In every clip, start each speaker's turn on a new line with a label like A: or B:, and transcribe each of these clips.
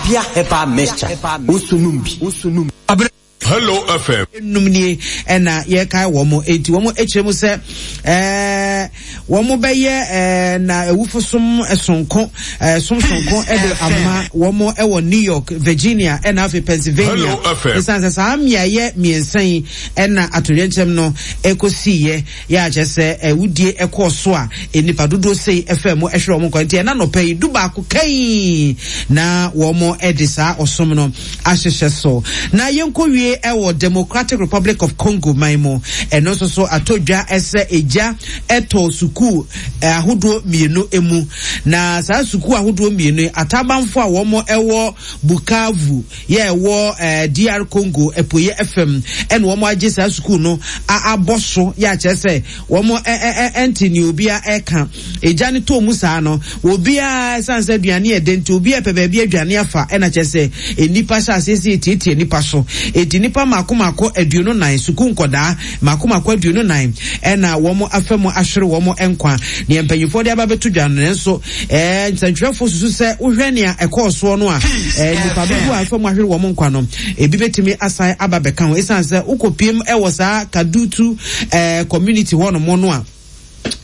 A: Abia Herbal Mixture, wo nso nom bi.
B: Hello FM.
C: Nnum nie ɛna yɛkae wɔn enti wɔn kyerɛ mu sɛ ɛɛ wɔn bɛyɛ ɛɛ na awufo som sonko ɛɛ som sonko ɛde ama wɔn ɛwɔ New York, Virginia ɛna afei Pennsylvania. Esan sɛ saa mmeaeɛ mmiɛnsa yi ɛna atoyerɛnkyɛm no ɛkɔsiiɛ yɛ akyɛ sɛ awudie ɛkɔɔ so a nnipa dodoɔ sei ɛfaa mu ɛhwere wɔn nkwa nti ɛna nɔpɛ yi du baako kai na wɔn ɛde saa ɔsom no ahyehyɛ so. Na yɛnkɔwie wɔ Democratic Republic of Congo man mu. Ɛno nso so atɔ dwa sɛ egya tɔɔ sukuu ahodoɔ mmienu mu. Na saa sukuu ahodoɔ mmienu yi, atabanfoɔ a wɔn wɔ Bukavu yɛ ɛwɔ DR Congo apueɛ fam ɛna wɔn agye saa sukuu no abɔ so yɛ akyerɛ sɛ wɔn ɛnte nea obiara ɛka. Egya no tɔɔ mu saa no, obiara, ɛsiane sɛ aduane yɛ dɛ nti, obiara pɛ baabi adwane afa, ɛna kyerɛ sɛ nnipa hyɛ aseɛ sɛ yɛtiatia nnipa so. Enti nnipa mmaako mmaako 24, sukuu nkɔdaa mmaako mmaako 24 ɛna wɔn afa mu ahwere wɔn nkwa. Nea mpanyinfoɔ de aba bɛto dwa no, nanso ɛɛ nsɛntwerɛfoɔ susu sɛ wohwɛ nea ɛkɔɔ soɔ no a, ɛɛ nnipa dodoɔ a afa mu ahwere wɔn nkwa no, ebi bɛtumi asan aba bɛka ho. Ɛsiane sɛ wokɔpiem ɛwɔ saa Kadutu ɛɛ community hɔnom no a,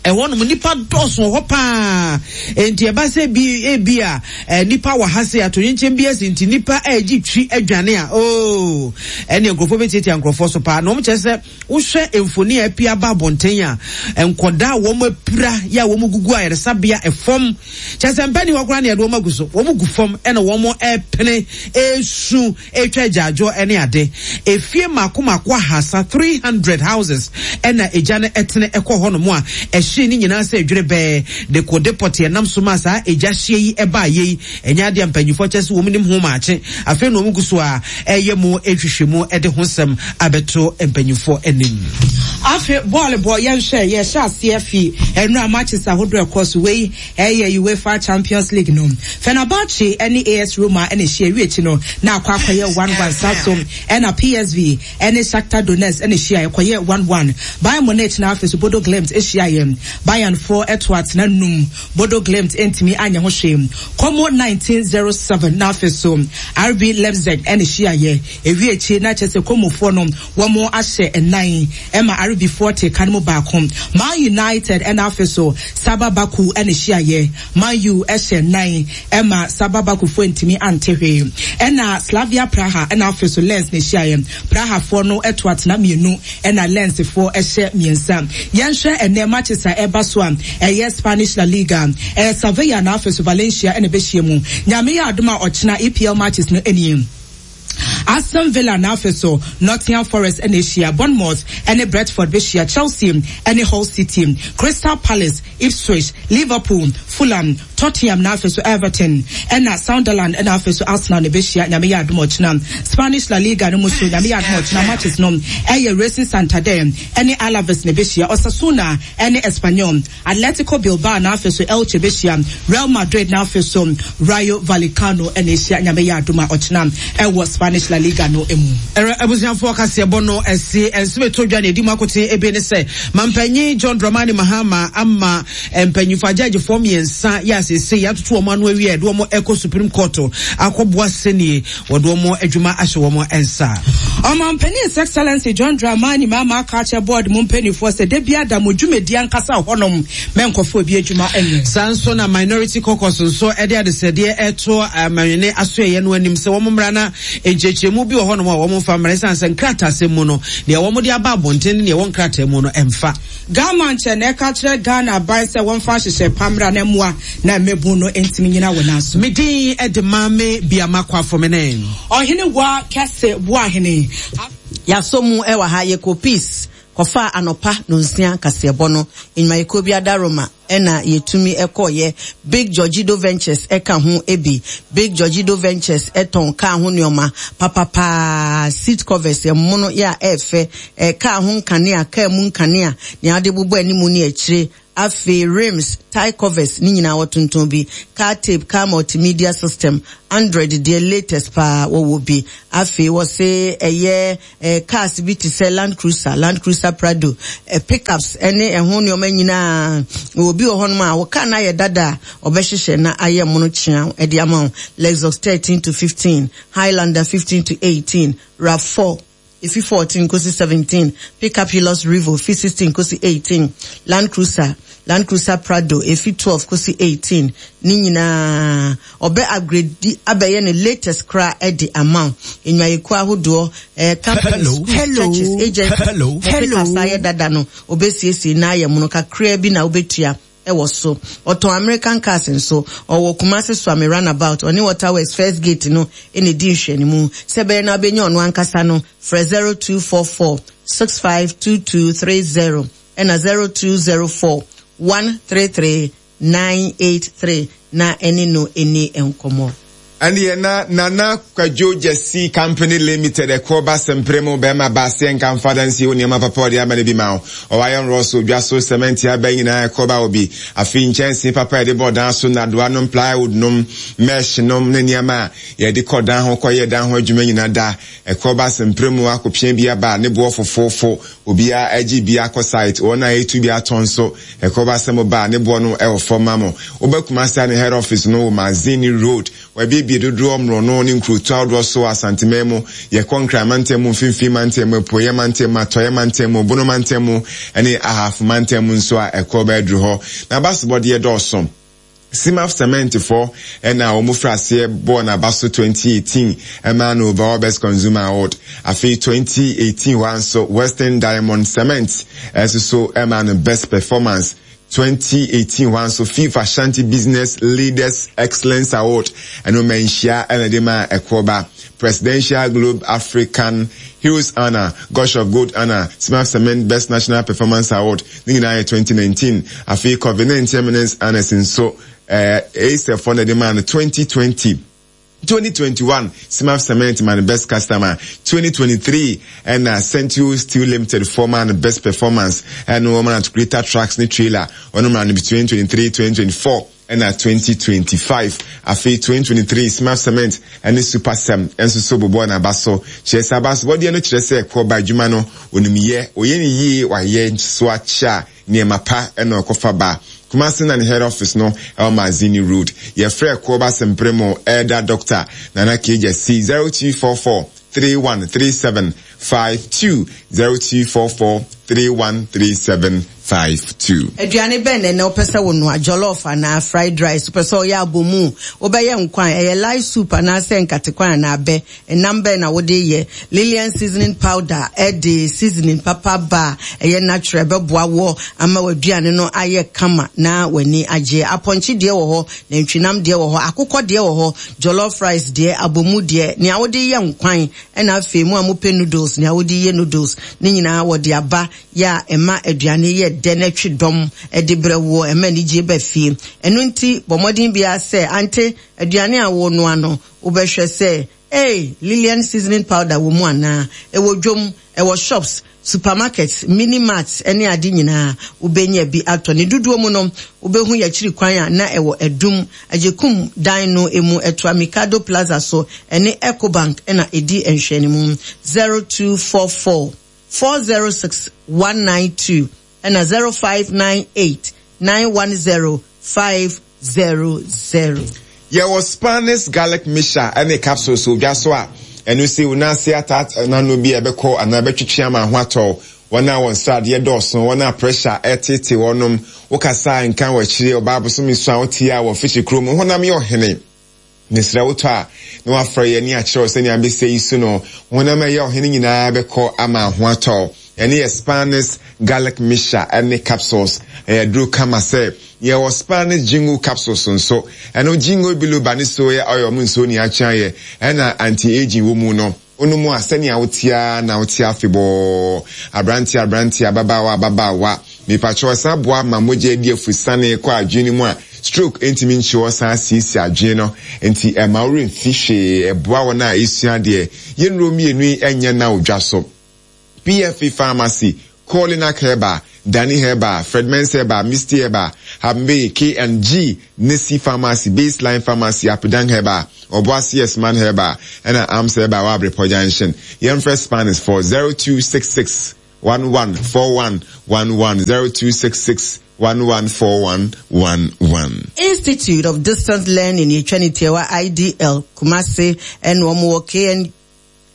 C: Ɛhɔnom nnipa dɔɔso wɔ hɔ paa. Enti ɛba sɛ bi ebi a eh, nnipa wɔ ha se atoyerɛnkyɛm bi asi nti nnipa regye twi adwane a, oo, ɛne nkurɔfoɔ bɛtiatia nkurɔfoɔ so paa. Na wɔn kyerɛ sɛ wohwɛ mfoni a apue aba abɔnten a, nkɔdaa a wɔn apira yɛ a wɔn gugu ayaresabea ɛfam. Kyerɛ sɛ mpɛ ni hɔ koraa na yɛde wɔn agu so. Wɔn gu fam ɛna wɔn ɛpene, ɛresu. retwa agyaadwoɔ ne ade. Efie mmaako mmaako ahasa, 300 houses, na egya no tene kɔɔ hɔnom a ɛhyee ne nyinaa sɛ dwerebɛɛ. Dekode pɔtee nam so maa saa egya hyeɛ yi baeɛ yi, ɛnyɛ adeɛ a mpanyinfoɔ kyerɛ sɛ wɔn nim ho maakye. Afei na wɔn gu so ara reyɛ mu nhwehwɛmu de ho nsɛm abɛto mpanyinfoɔ anim.
D: Afe bɔɔl bɔ yɛnhwɛ yɛhyɛ aseɛ fi nnora matches ahodoɔ ɛkɔ so wei Ɛyɛ Uefa Champions League no. Fenerbahce ne AS Roma na ɛhyia ɛwie akyi no na akɔ akɔyɛ 1-1 saa so na PSV ne Shakhtar Donetsk na ɛhyia ɛkɔyɛɛ 1-1. Bayern Munich na afei so Bodo Glimt hyiaeɛ. Bayern foɔ to atena num Bodo Glimt ntumi anyɛ ho hwee. Como 1907 na afei so RB Leipzig na ɛhyiaeɛ. Ɛwie akyi na kyerɛ sɛ Como foɔ no wɔn ahyɛ nnan ma RB foɔ te ka no mu baako. Man United na afei so Saba Baku na ehyiaeɛ. Man U hyɛ nnan ma Saba Baku foɔ antumi ante hwee. Ɛna Slavia Praha na afei so Lens na ehyiaeɛ. Praha foɔ no to atena mmienu ɛna Lens foɔ hyɛ mmiɛnsa. Yɛnhwɛ ɛnnɛ matches a ɛreba so a ɛyɛ Spanish La Liga. Ɛyɛ Sevilla na afei so Valencia na ɛbɛhyia mu. Nyame yɛ adom a ɔkyena EPL matches no nie. Aston Villa na afei so Nottingham Forest na ehyia, Bournemouth ne Brentford behyia, Chelsea ne Hull City, Crystal Palace, Ipswich, Liverpool, Fulham, Tottenham na afei so Everton, ɛna Sunderland na afei so Arsenal na ebehyia Nyame yɛ adom ɔkyena. Spanish La Liga no mu so Nyame yɛ adom ɔkyena matches no ɛyɛ Racing Santander ne Alaves na ebehyia, Osasuna ne Espanyol, Atletico Bilbao na afei so Elche bɛhyia Real Madrid na afei so Rayo Vallecano na ɛhyia Nyame yɛ adom a ɔkyena ɛwɔ Spanish La Liga no mu.
C: Ɛrɛ abusuafoɔ kaseɛbɔ no ɛse ɛnso ɛtɔ dwa na ɛdi mu akoten ebe ne sɛ Mampanyin John Dramani Mahama ama mpanyinfoɔ agyagyefoɔ mmiɛnsa yɛ asese yɛatoto wɔn ano awie a ɛde wɔn ɛkɔ Supreme Court akɔboa sɛnie Wɔde wɔn adwuma ahyɛ wɔn nsa.
D: Ɔmanpanin His Excellency John Dramani Mahama aka akyerɛ board mu mpaninfoɔ sɛ da biara da mo dwumadie ankasa wɔ hɔnom mɛ nkɔfa obi adwuma nyɛ.
C: Saa nso na Minority Caucus nso de adesrɛdeɛ reto amanwene asoɛeɛ no anim sɛ wɔn mmra na nkyerɛkyerɛmu bi wɔ hɔnom a wɔn mfa mmra ɛsiane sɛ nkrataasɛm mu no deɛ wɔn de aba abɔnten ne deɛ ɛwɔ nkrataa mu no ɛmfa.
D: Ghana nkyɛ na ɛka kyerɛ Ghana aban sɛ wɔmfa nhyehyɛe pa mmra na mmoa na mmabun no ntumi nnyina wɔn nan so.
C: Me din de Maame Biama Kwafomene.
D: Ɔhene Wa Kɛse Boahene.
E: Yɛasɔ mu wɔ ha, yɛkɔɔ Peace kɔfaa anɔpa nonsia kaseɛbɔ no. Nnwumayɛkuo bi adaworoma na yɛtumi kɔeɛ. Big Georgido Ventures ka ho bi. Big Georgido Ventures tɔn kaa ho nnoɔma papa paa, seat covers, ɛmono yɛ a ɛɛfɛ, kaa ho nkanea, kaa mu nkanea, nea wode bobɔ animu ne akyire, Afei rims, tie covers ne nyinaa wɔtontɔn bi, car tape, car multimedia system, Android deɛ latest paa wɔwɔ bi. Afei wɔse ɛyɛ eh, cars bi te sɛ Land Cruiser, Land Cruiser Prado, eh, pickups ne ɛho nneɛma nyinaa wɔ. Obi wɔ hɔnom a wo car no ayɛ dada a, ɔbɛhyehyɛ na ayɛ mono kyeaw de ama wo. Lexus 13 to 15, Highlander 15 to 18, RAV4 efi 14 kosi 17, Pickup Hilux Revo fi 16 kosi 18, Land Cruiser, Land Cruiser Prado efi 12 kosi 18, ne nyinaa ɔbɛ upgrade abɛyɛ ne latest koraa de ama wo. Nnwuayɛkuo ahodoɔ, eh, companies, schools, churches, agencies, mo pickups ayɛ dada no, ɔbɛsiesie na ayɛ mono kakraa bi na wobɛtua. wɔ so. Ɔtɔn American cars nso. Ɔwɔ Kumasi Suame Runabout, ɔne Water Works First Gate no na ɛdi nhwɛanimu. Sɛ ɛbɛyɛ na wobɛnya ɔno ankasa no, frɛ 0244 652230 ɛna 0204 133 983 na ɛne no nni nkɔmmɔ.
F: Ɛndeɛ na Nana Kwadwo Gyasi Company Limited ɛkoɔ ba sempere mu bɛɛma ba aseɛ nka mfa adansie wo nneɛma papa ɔde ama no bi ma wo. Ɔwɔ iron rods odwa so cement aba nyinaa ɛkoɔ ba wɔ bi. Afei nkyɛnsee papa yɛde bɔ dan so nnadoa nom plywood nom mesh nom ne nneɛma a yɛde kɔ dan ho kɔ yɛ dan ho adwuma nyinaa da ɛkoɔ ba sempere mu akɔpia bi aba ne boɔ fofoofo obiara agye bi akɔ site wɔn a ɛtu bi atɔ nso Ɛkɔba sɛ mo ba a, ne boɔ no wɔ fam ma mo. Woba Kumasi a ne head office no wɔ Mazini road. Wɔabiebie dodoɔ mmorɔno ne nkurotoɔ ahodoɔ so wɔ Asanteman mu. Yɛkɔ Nkran mantam mu, Mfimfini mantam mu, Apueeɛ mantam mu, Atɔeɛ mantam mu, Bono mantam mu ne Ahafo mantam mu nso a ɛkɔba aduru hɔ. N'abasobɔdeɛ dɔɔso. Cimaf Cement foɔ na wɔn firi aseɛ bɔɔ n'aba so 2018 maa no Overall Best Consumer Award. Afei 2018 hɔ ara nso Western Diamond Cement nso so maa no Best Performance. 2018 hɔ ara nso FIFA Ashanti Business Leaders Excellence Award ɛno manhyia na ɛde maa ɛkoɔ Presidential Globe African Heroes Honour, Gush of Gold Honour, Cimaf Cement Best National Performance Award Ne nyinaa yɛ 2019. Afei Covid-19 Eminence Honours nso, eh, ASEF foɔ na ɛde maa no 2020. 2021 Cimaf Cement maa no Best Customer. 2023 ɛna Century Steel Limited foɔ maa no Best Performance. Ɛno wɔn maa no Greater Trucks ne Trailer. Wɔn maa no 2023, 2024. Ɛna 2025 afei 2023 Smart Cement ne Super Cem nso so bobɔɔ n'aba so. Kyerɛ sɛ abasobɔdeɛ no kyerɛ sɛ kɔba adwuma no onim yɛ, ɔyɛ no yie, wayɛ so akyɛ a nneɛma pa na ɔkɔfa ba. Kumasi na ne head office no ɛwɔ Mazini Road. Yɛfrɛ Kɔba Sempremo Elder Doctor Nana K. Gyasi 0244 3137 52 0244 3137 52.
E: Aduane bɛn na ɛnɛ wopɛ sɛ wonoa? Jollof anaa fried rice? Wopɛ sɛ ɔyɛ abomu? Wobɛyɛ nkwan? Ɛyɛ light soup anaasɛ nkatekwan anaa abɛ? Ɛnam bɛn na wode yɛ? Lilian seasoning powder de seasoning papa ba a ɛyɛ natural, ɛbɛboa woɔ ama w'aduane no ayɛ kama na w'ani agye. Apɔnkye deɛ wɔ hɔ, nantwinam deɛ wɔ hɔ, akokɔ deɛ wɔ hɔ, jollof rice deɛ, abomu deɛ, nea wode yɛ nkwan, ɛna afei mo a mopɛ noodles, nea wode yɛ noodles, ne nyinaa wɔde aba yɛ a ɛma aduane yɛ dɛ na ɛtwe dɔm de brɛ woɔ, ɛma anigyeɛ ba fie. Ɛno nti bɔ mmɔden biara sɛ ante aduane a worenoa no, wobɛhwɛ sɛ Ei, Lilian seasoning powder wɔ mu anaa? Ɛwɔ dwom, ɛwɔ shops, supermarkets, mini marts ne ade nyinaa wobɛnya bi atɔ. Ne dodoɔ mu no, wobɛhu yɛakyiri kwan a na ɛwɔ Adum, Agyekum dan no mu, ɛtoa Mikado Plaza so, ɛne Ecobank na ɛdi nhwɛanimu. 0244 406 192 ɛna 0598 910 500.
F: Yɛwɔ Spanish garlic mixture ne capsules wɔ dwa so a ɛno sɛ wo nan ase atat n'ano bi a ɛbɛkɔ anaa ɛbɛtwetwe ama ho atɔ wo. Wɔn a wɔn sradeɛ dɔɔso, wɔn a pressure reteetee wɔn, wokasa a nka wɔ akyire, ɔbaa bosome so a wote a wɔ fihyɛ kurom, wo honam yɛ ɔhene. Mesrɛ wo tɔ a na wafrɛ yɛn ne akyerɛ wo sɛnea abɛsɛ yi so no, honam a ɛyɛ ɔhene nyinaa bɛkɔ ama ho atɔ wo. Ɛno yɛ Spanish garlic mixture ne capsules. Ɛyɛ aduro kama sɛ. Yɛwɔ Spanish jingo capsules nso. Ɛno jingo biloba ne soya oil mu nsuo ne akye ayɛ ɛna anti-aging wɔ mu no. Wonom a, sɛnea wote ara na wote afebɔɔ. Aberanteɛ, aberanteɛ, ababaawa, ababaawa. Mepakyɛw, ɛsan boa ma mogya di afusane kɔ adwene no mu a stroke ntumi nkye hɔ san siesie adwene no. Enti ɛmma wo werɛ mfi hwee. Ɛboa wɔn a esua adeɛ. Yɛn nnuro mmienu yi nyɛ nna wɔ dwa so. PFA Pharmacy, Kolinak Herbal, Dani Herbal, Fred Mensah Herbal, Misty Herbal, Hambe, K&G, Nesi Pharmacy, Baseline Pharmacy, Apidang Herbal, Obuasi Esman Herbal, ɛna Arms Herbal wɔ Abrepɔ Junction. Yɛmfrɛ Spanish for 0266 114111 0266. 114111.
E: Institute of Distance Learning, yɛtwa ne tiawa IDL, Kumasi, ɛna wɔn wɔ KN,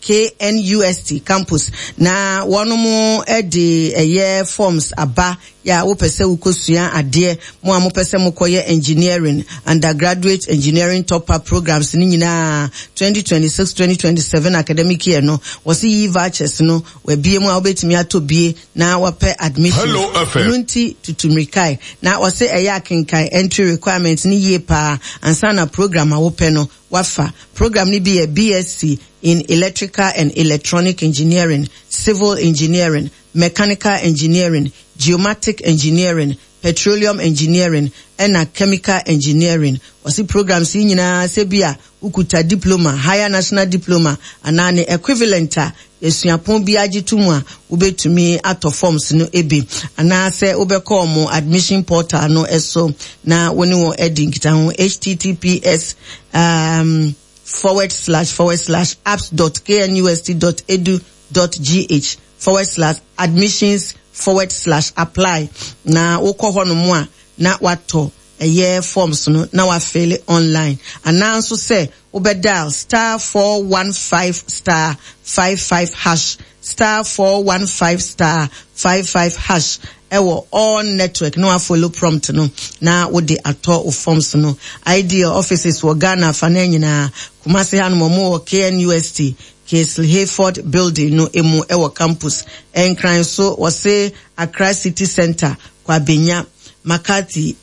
E: KNUST campus na wɔnom de ɛyɛ forms aba yɛ a wopɛ sɛ wokɔsua adeɛ, mo a mopɛ sɛ mokɔyɛ engineering, undergraduate engineering top up programs no nyinaa 2026-2027 academic year no, wɔse yi vouchers no wabie mu a wobɛtumi atɔ bie na wapɛ admission.
B: Hello FM.
E: Ɛno nti tutu mmirikae na wɔse ɛyɛ akenkan entry requirements no yie paa ansa na program a wopɛ no wafa. Program no bi yɛ BSc in Electrical and Electronic Engineering, Civil Engineering, Mechanical Engineering, Geomatic Engineering, Petroleum Engineering, ɛna Chemical Engineering. Wɔse programs yi nyinaa sɛ bi a wokuta diploma, Higher National Diploma anaa ne equivalent a suapɔn biara gye to mu a, wobɛtumi atɔ forms no bi anaasɛ wobɛkɔ wɔn admission portal no so na wo ne wɔn adi nkitaho https um, forward slash forward slash apps dot knust dot edu dot gh forward slash admissions forward slash apply na wokɔ hɔ nom a na watɔ ɛyɛ forms no na wafele online anaa nso sɛ wobɛ dial star 415 star 55 hash star 415 star 55 hash ɛwɔ all network na wafollow prompt no na wode atɔ wo forms no. Ideal offices wɔ Ghana afanan nyinaa. Kumasi hanom ɔmo wɔ KNUST Castle Hayford building no emu ɛwɔ campus. Nkran so wɔse Accra City Centre, Kwabenya, McCarthy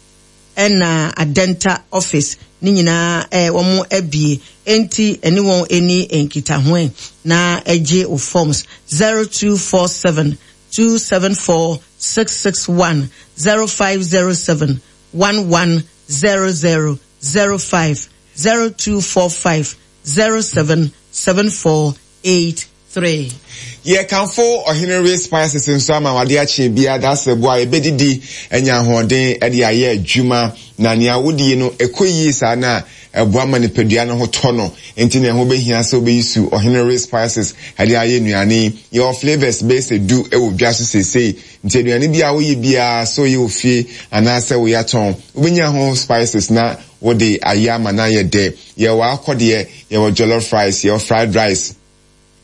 E: ɛna Adenta office ne nyinaa eh, wɔn abie. Enti ɛne wɔn ɛni nkitahoɛ na ɛgye wo forms 0247 274 661 0507 1100 05 0245 07 7483.
F: Yɛkamfo Ɔhene Ray Spices nso ama wade akye biara dasebo a yɛbɛdidi anya ahoɔden de ayɛ adwuma na nea wodie no ɛkɔ yie saa no a ɛboa ma nipadua no ho tɔ no nti na ɛho bɛhia sɛ wobɛyi su Ɔhene Ray Spices de ayɛ nnuane yi. Yɛwɔ flavours bɛyɛ sɛ du wɔ dwa so seesei nti aduane bi a woyɛ biara sɛ woyɛ wɔ fie anaasɛ woyɛ atɔn wobɛnya ho spices na wode ayɛ ama no ayɛ dɛ. Yɛwɔ akɔdeɛ, yɛwɔ jollof rice, yɛwɔ fried rice,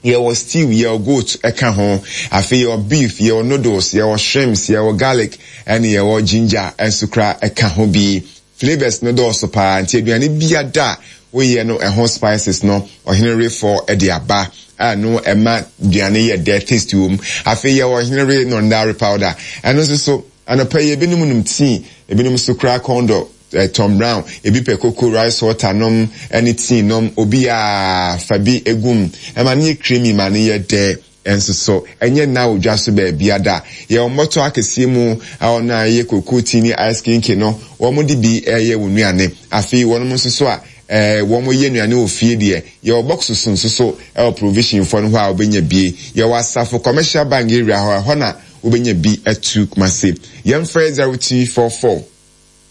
F: yɛwɔ stew, yɛwɔ goat ɛka ho. Afei yɛwɔ beef, yɛwɔ noodles, yɛwɔ shrimps, yɛwɔ garlic, ɛne yɛwɔ ginger nso kora ɛka ho bi. Flavours no dɔɔso paa nti aduane biada a woyɛ no ɛho spices no Ɔhene Refɔ de aba a no ɛma aduane yɛ dɛ, taste wɔ mu. Afei yɛwɔ Ɔhene Re Nondare powder, ɛno nso so anɔpa yi ebinom nom tea, ebinom nso koraa kɔn dɔ Eh, Tom Brown, ebi pɛ koko, rice water nom ne tea nom, obi a fa bi egu mu. Ɛma no yɛ creamy ma no yɛ dɛ nso so. Ɛnyɛ nna wɔ dwa so baabia da. Yɛwɔ mmɔtɔ akɛseɛ mu a wɔn a ɛyɛ koko tea ne ice kinki no, wɔn de bi ɛyɛ wɔn nnuane. Afei wɔnom nso so a eh, wɔn yɛ nnuane wɔ fie deɛ, yɛwɔ boxes nso so ɛwɔ provision foɔ no hɔ a wobɛnya bie. Yɛwɔ Asafo Commercial Bank area hɔ, ɛhɔ na wobɛnya bi atu Kumasi. Yɛmfrɛ 0244.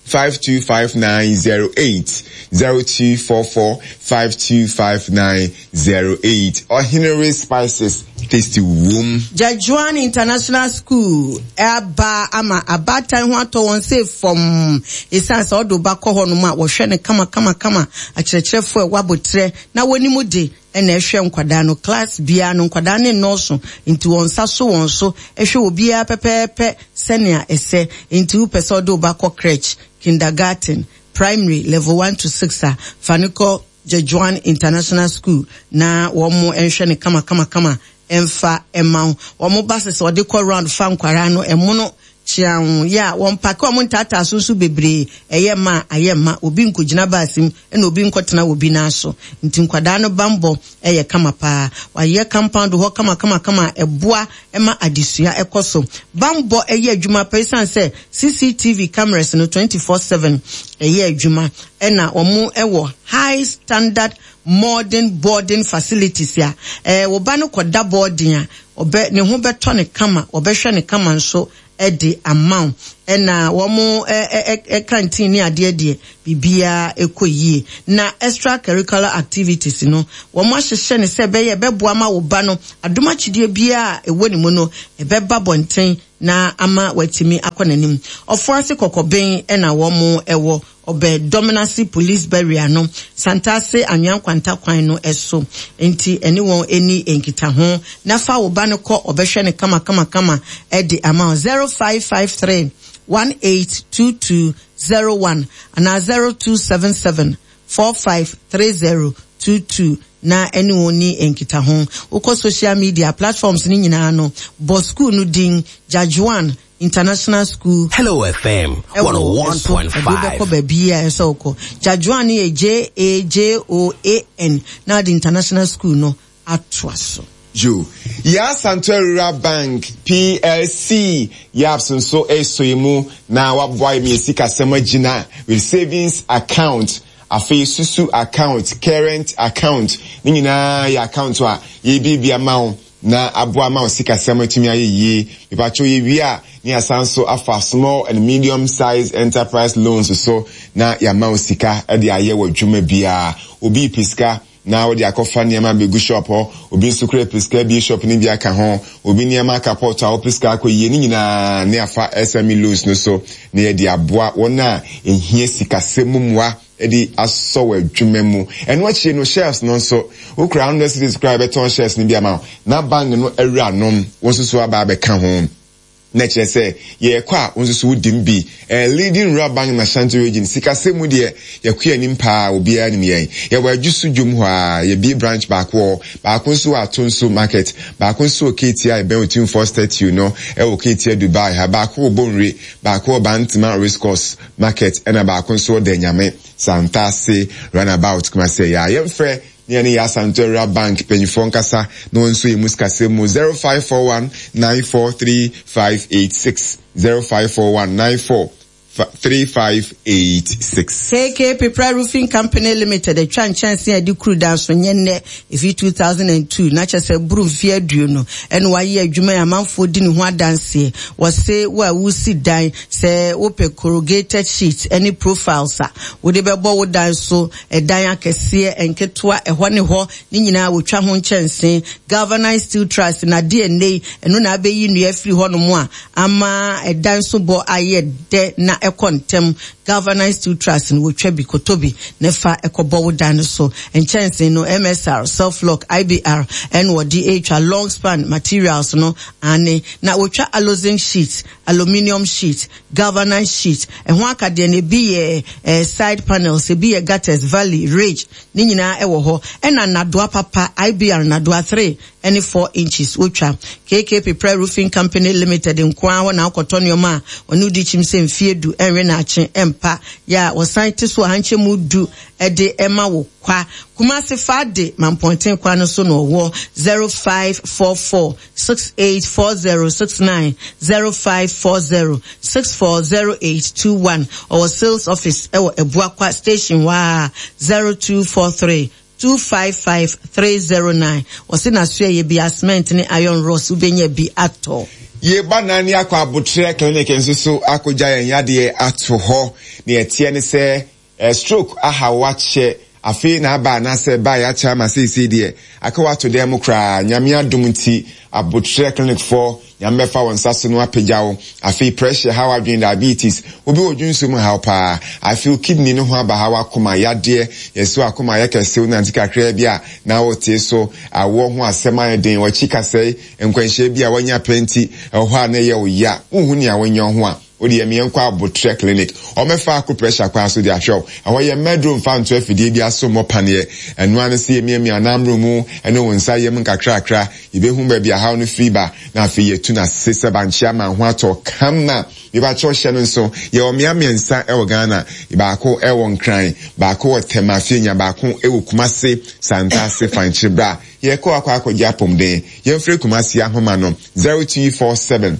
F: 525908 0244 525908 Ɔhenere Spices tasty wom.
E: Jadjuan International School aba ama abaatan ho atɔ wɔn sɛ fam. Esiane sɛ ɔde wo ba kɔ hɔnom a, wɔhwɛ no kama kama kama. Akyerɛkyerɛfo a ɛwɔ aboterɛ na wɔnim de na ɛhwɛ nkwadaa no. Class biara no, nkwadaa no nnɔɔso nti wɔn nsa so wɔn so hwɛ obiara pɛpɛɛpɛ sɛnea ɛsɛ. Enti wopɛ sɛ wode wo ba kɔ crèche, kindergarten, primary, level one to six a, fa no kɔ Jejuan International School na wɔn nhwɛ no kama kama kama mfa mma wo. Wɔn buses a wɔde kɔ round fa nkwadaa no, ɛmono kyeaw yɛ a wɔmpake wɔn ntaataa so nso bebree. Ɛyɛ mma a, ayɛ mma. Obi nkogyina bus mu na obi nkɔtena obi nan so. Nti nkwadaa no bammɔ yɛ kama paa. Wɔayɛ compound hɔ kamakamakama a ɛboa ma adesua kɔ so. Bammɔ yɛ adwuma paa esiane sɛ CCTV cameras no 24/7 ɛyɛ adwuma ɛna wɔn wɔ high standard modern boarding facilities a ɛɛ wo ba no kɔda boarding a ɔbɛ ne ho bɛtɔ no kama, wɔbɛhwɛ no kama nso de ama wo. Ɛna wɔn ɛ ɛ canteen ne adeɛ deɛ biribiara ɛkɔ yie. Na extra curricular activities no wɔn ahyehyɛ no sɛ ɛbɛyɛ ɛbɛboa ma wo ba no adom akyidie biara a ɛwɔ ne mu no ɛbɛba bɔnten. na ama watumi akɔ n'anim. Ɔfoase Kɔkɔben na wɔn wɔ, ɔbɛn Dominase Police Barrier no, Santase Anwea Nkwanta kwan no so. Enti ɛne wɔn nni nkitaho na fa wo ba no kɔ, ɔbɛhwɛ no kamakamakama de ama wo. 0553 182201 anaa 0277 453022 na ɛne wɔn nni nkitaho. Wokɔ social media platforms no nyinaa no, bɔ sukuu no din, Jajwan International School.
A: Hello FM
E: ɛwɔ ɛso, ɛde wobɛkɔ
A: 101.5.
E: baabi a ɛsɛ wokɔ. Jajwan no yɛ J-A-J-O-A-N na wode International School no atoa so.
F: Yo. Yaa Asantewaa Rural Bank PLC, YABS nso resɔ yɛn mu na waboa yɛn ma yɛn sikasɛm agyina with savings account, afei susu account, current account, ne nyinaa yɛ account a yɛrebuebue ama wo na aboa ama wo sikasɛm atumi ayɛ yie. Mepakyɛw yɛwie a na yɛasan nso afa small and medium size enterprise loans so na yɛama wo sika de ayɛ w'adwuma biara. Obi repɛ sika na wode akɔfa nneɛma abɛgu shop hɔ, obi nso kura pɛ sika abue shop no bi aka ho, obi nneɛma aka pot a wopɛ sika akɔ yie, ne nyinaa ne afa SME loans no so na yɛde aboa wɔn a ɛhia sikasɛm mu mmoa de asɔ wɔ adwuma mu. Ɛno akyire no shares no nso, wokura 100 cedis koraa a yɛbɛtɔn shares no bi ama wo na bank no awuranom wo nso so aba abɛka ho. Na kyerɛ sɛ yɛrekɔ a wo nso so wodi mu bi. Ɛyɛ leading rural bank in Ashanti region. Sikasɛm mu deɛ yɛkɔ yɛn anim paa, obiara nim yɛn. Yɛwɔ Adwosu dwom hɔ ara, yɛabue branch baako wɔ hɔ, baako nso wɔ Atonsu market, baako nso wɔ Ketia a ɛbɛn Otumfoɔ statue no wɔ Ketia Dubai ha, baako wɔ Bonwire, baako wɔ Bantama race course market ɛna baako nso wɔ Danyame Santase runabout Kumasi. Ɛyɛ a yɛmfrɛ Ne yɛne yɛn Asante Rural Bank mpanyinfoɔ nkasa na wɔn nso yɛn mu sikasɛm mu 0541 943 586 0541 94 3586.
E: KK Pepra Roofing Company Limited atwa nkyɛnsee a ɛde kuru dan so nyɛ nnɛ, ɛfiri 2002, na kyerɛ sɛ ɛboro mfeɛ aduonu ɛna wayɛ adwuma yi amanfoɔ di ne ho adanseɛ. Wɔse wo a woresi dan, sɛ wopɛ corrugated sheet ne profiles a wode bɛbɔ wo dan so, Ɛdan akɛseɛ, nketewa, ɛhɔ ne hɔ, ne nyinaa wɔtwa ho nkyɛnse. Galvanized steel truss na adeɛ ɛnnɛ yi, ɛno na abɛyi nnua afiri hɔnom a ama ɛdan so bɔ ayɛ dɛ na ɛkɔ ntɛm. Galvanized steel truss no, wɔtwa bi, kɔtɔ bi na fa kɔbɔ wo dan no so. Nkyɛnse no, MSR, Self-Lock, IBR ɛna wɔde retwa. Long span materials no, aane. Na wɔtwa alozinc sheet, aluminium sheet, Galvanized sheet, ɛho akadeɛ no ebi yɛ eh, side panels, ebi yɛ gutters, valley, ridge, ne nyinaa ɛwɔ hɔ. Ɛna nnadoa papa, IBR nnadoa 3 ɛne 4 inches wotwa. KK Pepra Roofing Company Limited nko ara hɔ na wokɔtɔ nneɛma a wɔne wo di kyim sɛ mfie du ɛnwe naakye ɛmpa yɛ a wɔsan te so ahankyɛmu du ɛde ɛma wo kwa. Kumasi Fade Mampɔnten kwan no so na ɔwɔ 0544 684069 0540 640821 Ɔwɔ sales office wɔ Abuakwa station hɔ ara 0243 255 309 Ɔse n'asoɛeɛ biara cement ne iron rods wobɛnya bi atɔ.
F: Yɛba Nani akɔ Aboterɛ clinic nso so akɔgya yɛn yadeɛ ato hɔ. Nea ɛteɛ ne sɛ Stroke ahaw wo akyɛ, afei na aba anaasɛ ɛbaeɛ akyɛ ama seesei deɛ aka wo ato dan mu koraa. Nyame adom nti Aboterɛ clinic foɔ Nyame bɛfa wo nsa so na wapagya wo. Afei pressure haw adwene, diabetes, obi wɔ dwonso mu haw paa. Afei wo kidney no ho aba haw, akoma yadeɛ, yɛse w'akoma ayɛ kɛse, wonante kakraa bi a na wotee so, awoɔ ho asɛm ayɛ den, w'akyi kasɛe, nkwanhyia bi a wanya pɛ nti ɛwɔ hɔ a na ɛyɛ wo ya, wonhu nea wonyɛ wo ho a. Wo deɛ meɛnkɔ abotrɛ clinic ɔmɛfa ako pressure kwan so de ahwɛ wo. Ɛhɔ yɛ mma aduro mfa nto afidie biara so mmɔ paneɛ. Ɛno ara ne sɛ yɛmiamia anammerɛ mu ne wo nsa yam nkakrakra. Yɛbɛhu baabi a haw no firi ba na afei yɛatu no ase sɛ bankye ama ho atɔ kama. Mepakyɛw hyɛ no nso, yɛwɔ mmea mmiɛnsa wɔ Ghana, baako wɔ Nkran, baako wɔ Tema Afienya, baako wɔ Kumase Santase Fankye. Bra yɛkɔ akɔ akɔgye apomden. Yɛmfrɛ Kumasi ahoma no 0247.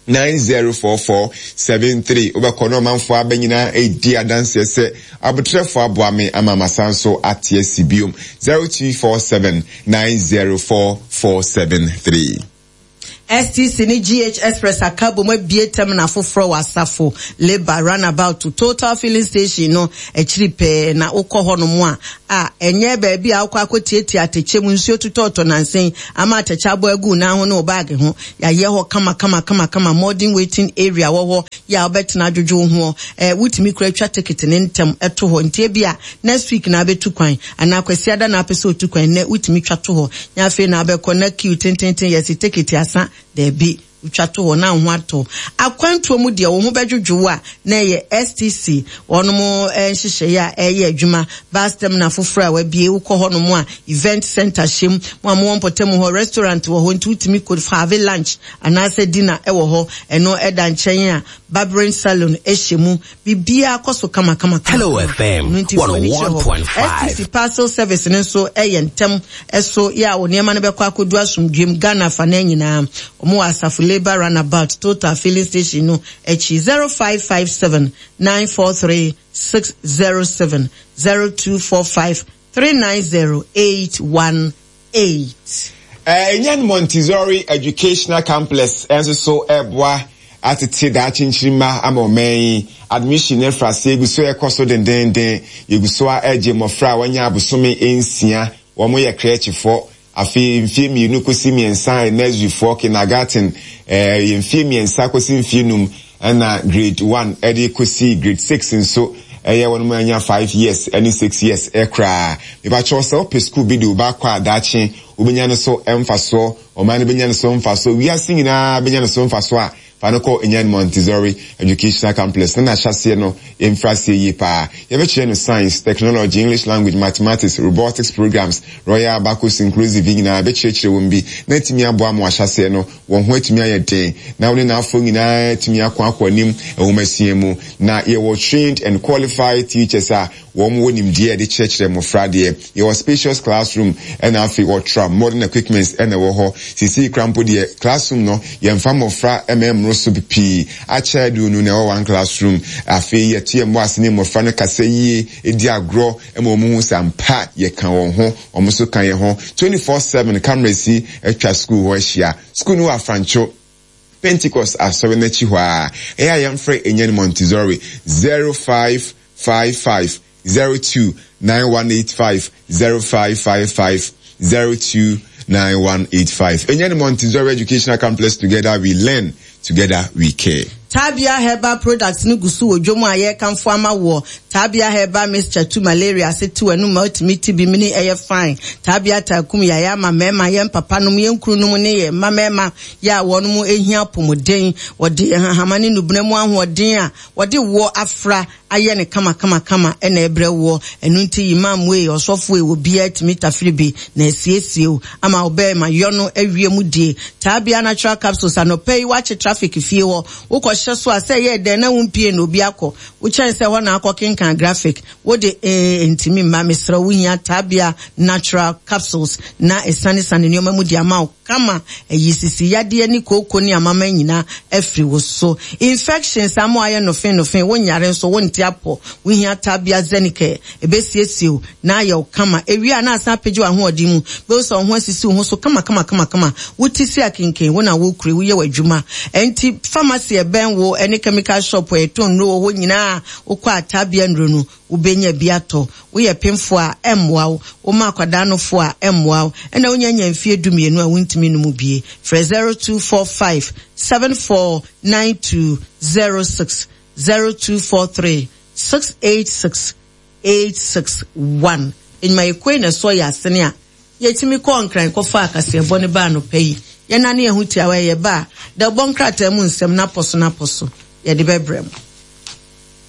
F: 904473 Wobɛkɔ na ɔmanfoɔ aba nyinaa redi adanseɛ sɛ aboterɛfoɔ aboa me ama masan so ate asi biom 0247 904473.
E: STC ne GH Express aka abom abue terminal foforɔ wɔ Asafo Labour Runabout to Total Filling Station no akyiri pɛɛ na wokɔ hɔnom a, a ɛnyɛ baabi a wokɔ akɔtiatia atɛkyɛ mu, nsuo totɔɔtɔ nansa yi ama atɛkyɛ abɔ agu wo nan ho ne wo baage ho. Yɛayɛ hɔ kama kama kama kama, modern waiting area wɔ hɔ yɛ a wobɛtena adwodwo wo ho. Eh, wotumi koraa twa ticket no ntɛm to hɔ nti ebia next week na abɛtu kwan anaa Kwasiada na apɛ sɛ otu kwan nnɛ wotumi twa to hɔ nyɛ afei na abɛkɔ na queue tententen yɛse tekiti asa daabi wotwa to hɔ na wo ho atɔ akwantuo mu deɛ wo ho bɛdwodwo wo a na ɛyɛ STC wɔnom nhyehyɛeɛ a ɛyɛ adwuma bus terminal foforɔ a wabie wokɔ hɔnom a event center hyɛ mu mo a mowɔ mpɔtam hɔ restaurant wɔ hɔ nti wotumi kɔ have lunch anaasɛ dinner ɛwɔ hɔ ɛno ɛda nkyɛn a barbering salon hyɛ mu Biribiara kɔ so kamakamakama.
A: Hello FM
E: Ɛno nti fa w'ani kyerɛ hɔ.
A: 101.5.
E: STC Parcel Service no nso yɛ ntɛm so yɛ a wo nneɛma no bɛkɔ akɔdu asomdwoeɛ mu Ghana afanaa nyinaa. Wɔn wɔ Asafo Labour Runabout, Total Filling Station no akyi. 0557 943 607, 0245 390 818.
F: Enyan Montessori Educational Complex nso so reboa atete daakye nkyirimma ama ɔman yi. Admission no afiri aseɛ gu so rekɔ so dendeenden. Yɛgu so ara regye mmɔfra a wɔanya abosome nsia, wɔyɛ krɛkyefoɔ, Afei mfeɛ mmienu kɔsi mmiɛnsa yɛ nurseryfoɔ, kindergarten, ɛyɛ mfeɛ mmiɛnsa kɔsi mfeɛ num, ɛna grade one ɛde kɔsi grade six nso ɛyɛ wɔn a anya five years ɛne six years ɛkoraa. Mepakyɛw sɛ wopɛ sukuu bi de wo ba akɔ a daakye wobɛnya no so mfasoɔ, ɔman no bɛnya no so mfasoɔ, wiase nyinaa bɛnya no so mfasoɔ a, Fa no kɔ Enyan Montessori Educational Complex na n'ahyɛaseɛ no mfiri aseɛ yie paa. Yɛbɛkyerɛ no Science, Technology, English Language, Mathematics, Robotics Programs, Royal Abacus Inclusive yi nyinaa yɛbɛkyerɛkyerɛ wɔn bi na atumi aboa ma wɔahyɛaseɛ no wɔn ho atumi ayɛ den na wɔne n'afoɔ nyinaa atumi ako akɔ anim nwomasua mu. Na yɛwɔ trained and qualified teachers a Wɔn wɔ nimdeɛ a yɛde kyerɛkyerɛ mmofra adeɛ. Yɛwɔ spacious classroom ɛna afei ultra modern equipments ɛna ɛwɔ hɔ. Seesei koraa mpo deɛ classroom no yɛnfa mmofra mma ɛmmoro so pii. Akyɛ aduonu na ɛwɔ one classroom. Afei yɛto yɛn bo ase ne mmofra no kasa yie, di agorɔ ma wɔn hu sɛ ampa yɛka wɔn ho, wɔn nso ka yɛn ho. 24/7 cameras yi atwa sukuu hɔ ahyia. Sukuu no wɔ Afrancho. Pentecost Asɔre no akyi hɔ ara. Ɛyɛ a yɛmfrɛ Enyan Montessori 0555 02 9185 0555 02 9185. Enyan Montessori Educational Complex Together we learn, together we care.
E: Tabia Herbal Products no gu so wɔ dwom a yɛrekamfo ama woɔ. Tabia Herbal Mixture tu malaria ase te w'anum ma wotumi te bi mene ɛyɛ fine. Tabia taa kum yaeɛ ama mmarima, yɛn papanom, yɛn kununom ne yɛn mma mmarima yɛ a wɔn hia apɔmuden. Wɔde nhahama ne nnubena mu ahoɔden a wɔde woɔ afra ayɛ no kamakamakama na ɛbrɛ woɔ. Ɛno nti Imam wei, ɔsɔfo wei, obiara tumi tafiri bi na asiesie wo ama wo bɛɛma yɔ no awie mu die. Taabia Natural Capsules, anɔpa yi woakye traffic fie hɔ, wokɔhyɛ so a sɛ ɛyɛɛ dɛn na wompie na obi akɔ wo kyɛn sɛ hɔ na akɔ kenkan graphic. Wo de ee ntumi mma, mesrɛ wo wohia Taabia Natural Capsules na ɛsanesane nneɛma mu de ama wo. Kama ayi sisi yadeɛ ne kooko ne amama nyina afiri wo so. Infections ama wayɛ nofe nofe, wo nyare nso wo nte apɔ. Wo hia Tabia Zenicare, ɛbɛsiesie wo na ayɛ wo kama. Ɛwie a na asan apagya w'ahoɔden mu, bɛhu sɛ wo ho asisi wo ho so kama kama kama kama. Wo ti si akenken, wo na wo kure, wo yɛ w'adwuma. Ɛnti pharmacy a ɛbɛn wo ɛne chemical shop a yɛtɔn nnuro wɔ hɔ nyinaa wo kɔ a Tabia nnuro no wo bɛnya bi atɔ. Woyɛ pemfoɔ a, ɛmmoa wo. Woma akwadaa nofoɔ a, ɛmmoa wo. Ɛna wonya nya mfeɛ dumienu a, wontumi nnom bie. Frɛ 0245 749206, 0243 686 861. Nnwumayɛkuo yi na ɛsɔ yɛn asene a yɛtumi kɔɔ Nkran kɔfaa kaseɛbɔ no baa anɔpa yi. Yɛnane yɛn ho tiawa yi, yɛba a, dawubɔ nkrataa mu nsɛm no apɔ so no apɔ so, yɛde bɛbrɛ mo.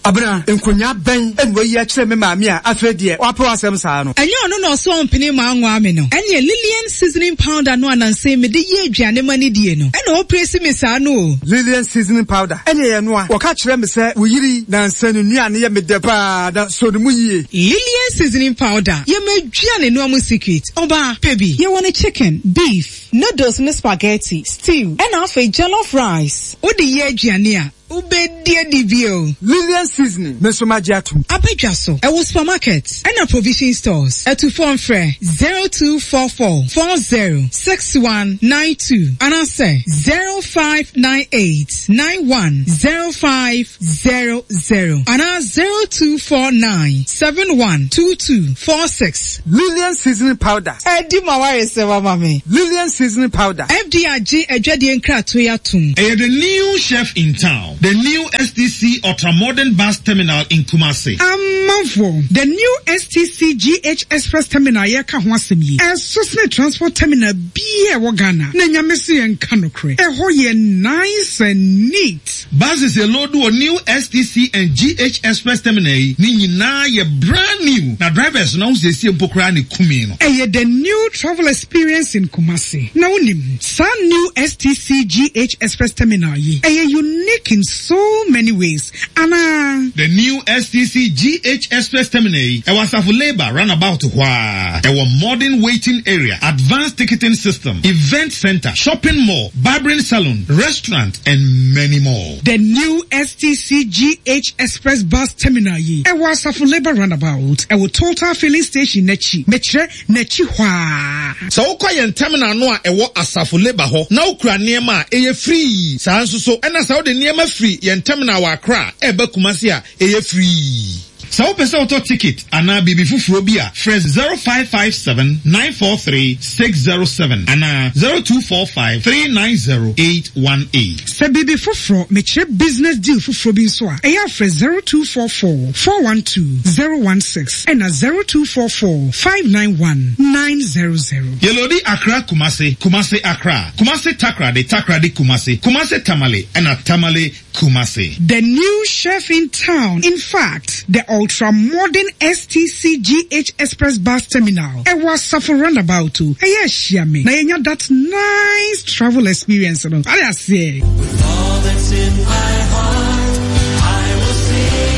G: Abena, nkonyaa bɛn na wayi akyerɛ me maame a afei deɛ wapɛ w'asɛm saa no?
D: Ɛnyɛ ɔno na ɔse ɔmpene mma anwaa me no? Ɛneɛ Lilian seasoning powder no a nansa yi mede yɛ aduane ma no die no ɛna ɔrepresi me saa no o.
G: Lilian seasoning powder ɛneɛ yɛnoa. Wɔka kyerɛ me sɛ wo yere yi nansa ne nnuane yɛ me dɛ paa na sɔ ne mu yie.
D: Lilian seasoning powder yɛ m'aduane noa mu secret. Ɔbaa, pɛ bi. Yɛwɔ no chicken, beef, noodles ne spaghetti, stew ɛna afei jollof rice. Wode yɛ aduane a. Wobɛdi adi bio.
G: Lilian seasoning, me nso magye atom.
D: Abadwa so, ɛwɔ supermarket ɛna provision stores. Atufoɔ mfrɛ 0244 40 6192 anaasɛ 0598 91 0500 anaa 0249 7122 46.
G: Lilian seasoning powder.
D: Adi ma w'aresɛm ama me.
G: Lilian seasoning powder.
D: FDA agye adwadie nkratoɔ yi atom.
B: Ɛyɛ the new chef in town, the new STC ultra-modern bus terminal in Kumasi.
G: Amanfoɔ, the new STC GH Express Terminal a yɛreka ho asɛm yi, ɛso sene transport terminal biara a ɛwɔ Ghana. Na Nyame se yɛnka nokorɛ, ɛhɔ yɛ nice and neat.
B: Buses yɛloodu wɔ new STC and GH Express Terminal yi ne nyinaa yɛ brand new na drivers no ahosiesie mpo koraa na ɛkumi no.
G: Ɛyɛ the new travel experience in Kumasi. Na wonim, saa new STC GH Express Terminal yi, ɛyɛ unique in so many ways anaa?
B: The new STC GH Express Terminal yi, ɛwɔ Asafo Labour runabout hɔ ara. Ɛwɔ modern waiting area, advanced ticketing system, event centre, shopping mall, barbering salon, restaurant and many more.
G: The new STC GH Express Bus Terminal yi, ɛwɔ Asafo Labour Runabout, ɛwɔ Total Filling Station no akyi, mekyerɛ, n'akyi hɔ ara.
B: Sɛ wokɔ yɛn terminal no a ɛwɔ Asafo Labour hɔ na wokura nneɛma a, ɛyɛ free. Saa ara nso so na sɛ wode nneɛma firi yɛn terminal wɔ Accra reba Kumasi a, ɛyɛ free. Sɛ wopɛ sɛ wotɔ ticket anaa biribi foforɔ bi a, frɛ 0557 943 607 anaa 0245 390 818.
G: Sɛ biribi foforɔ, mekyerɛ business deal foforɔ bi nso a, ɛyɛ a frɛ 0244 412 016 ɛna 0244 591 900.
B: Yɛlodi Accra Kumasi, Kumasi Accra, Kumasi Takoradi, Takoradi Kumasi, Kumasi Tamale ɛna Tamale Kumasi.
G: The new chef in town, in fact, the ultra modern STC GH Express Bus Terminal, ɛwɔ Asafo Runabout o, ɛyɛ ahyia me na yɛnya that nice travel experience no, wate aseɛ.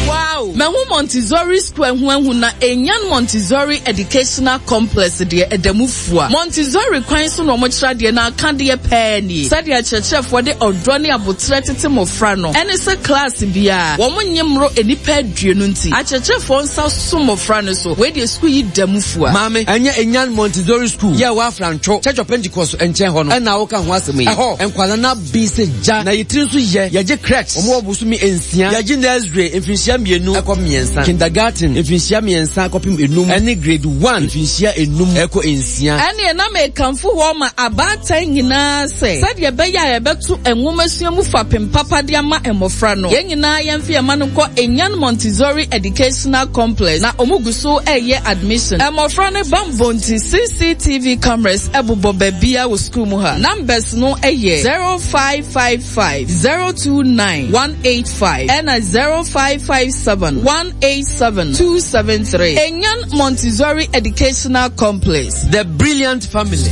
H: Wow! Mahu Montessori Square ho ahu na Enyan Montessori Educational Complex deɛ ɛda mu fua. Montessori kwan so na wɔkyerɛ adeɛ na akadeɛ pɛɛ nie. Sɛdeɛ akyerɛkyerɛfoɔ de ɔdɔ ne aboterɛ tete mmɔfra no, ɛne sɛ klaase biara, wɔnnye mmoro nnipa aduonu nti, akyerɛkyerɛfoɔ nsa so mmɔfra no so. Wei deɛ sukuu yi da mu fua.
A: Maame, ɛnyɛ Enyan Montessori School yi a ɛwɔ Afrantwo, Church of Pentecost nkyɛn hɔ no na woka ho asɛm yi? Ɛhɔ, nkwadaa no aben sɛ gya, na yɛ tiri nso yɛ. Yɛgye crèche, wɔn wɔ bosome nsia. Yɛgye nursery, mfinhyia mmienu kɔ mmiɛnsa, kindergarten, mfinhyia mmiɛnsa kɔpem enum, ɛne grade one, mfinhyia enum kɔ nsia.
H: Ɛnneɛ na mekamfo hɔ ma abaatan nyinaa sɛ, sɛdeɛ ɛbɛyɛ a yɛbɛto nwomasua mu fapem papa de ama mmɔfra no, yɛn nyinaa yɛmfa yɛn mma no nkɔ Enyan Montessori Educational Complex, na wɔgu so reyɛ admission. Mmɔfra no bammɔ nti, CCTV cameras bobɔ baabiara wɔ sukuu mu ha. Numbers no yɛ 0555 029 185 ɛna 0557 187 273. Enyan Montessori Educational Complex.
A: The Brilliant Family.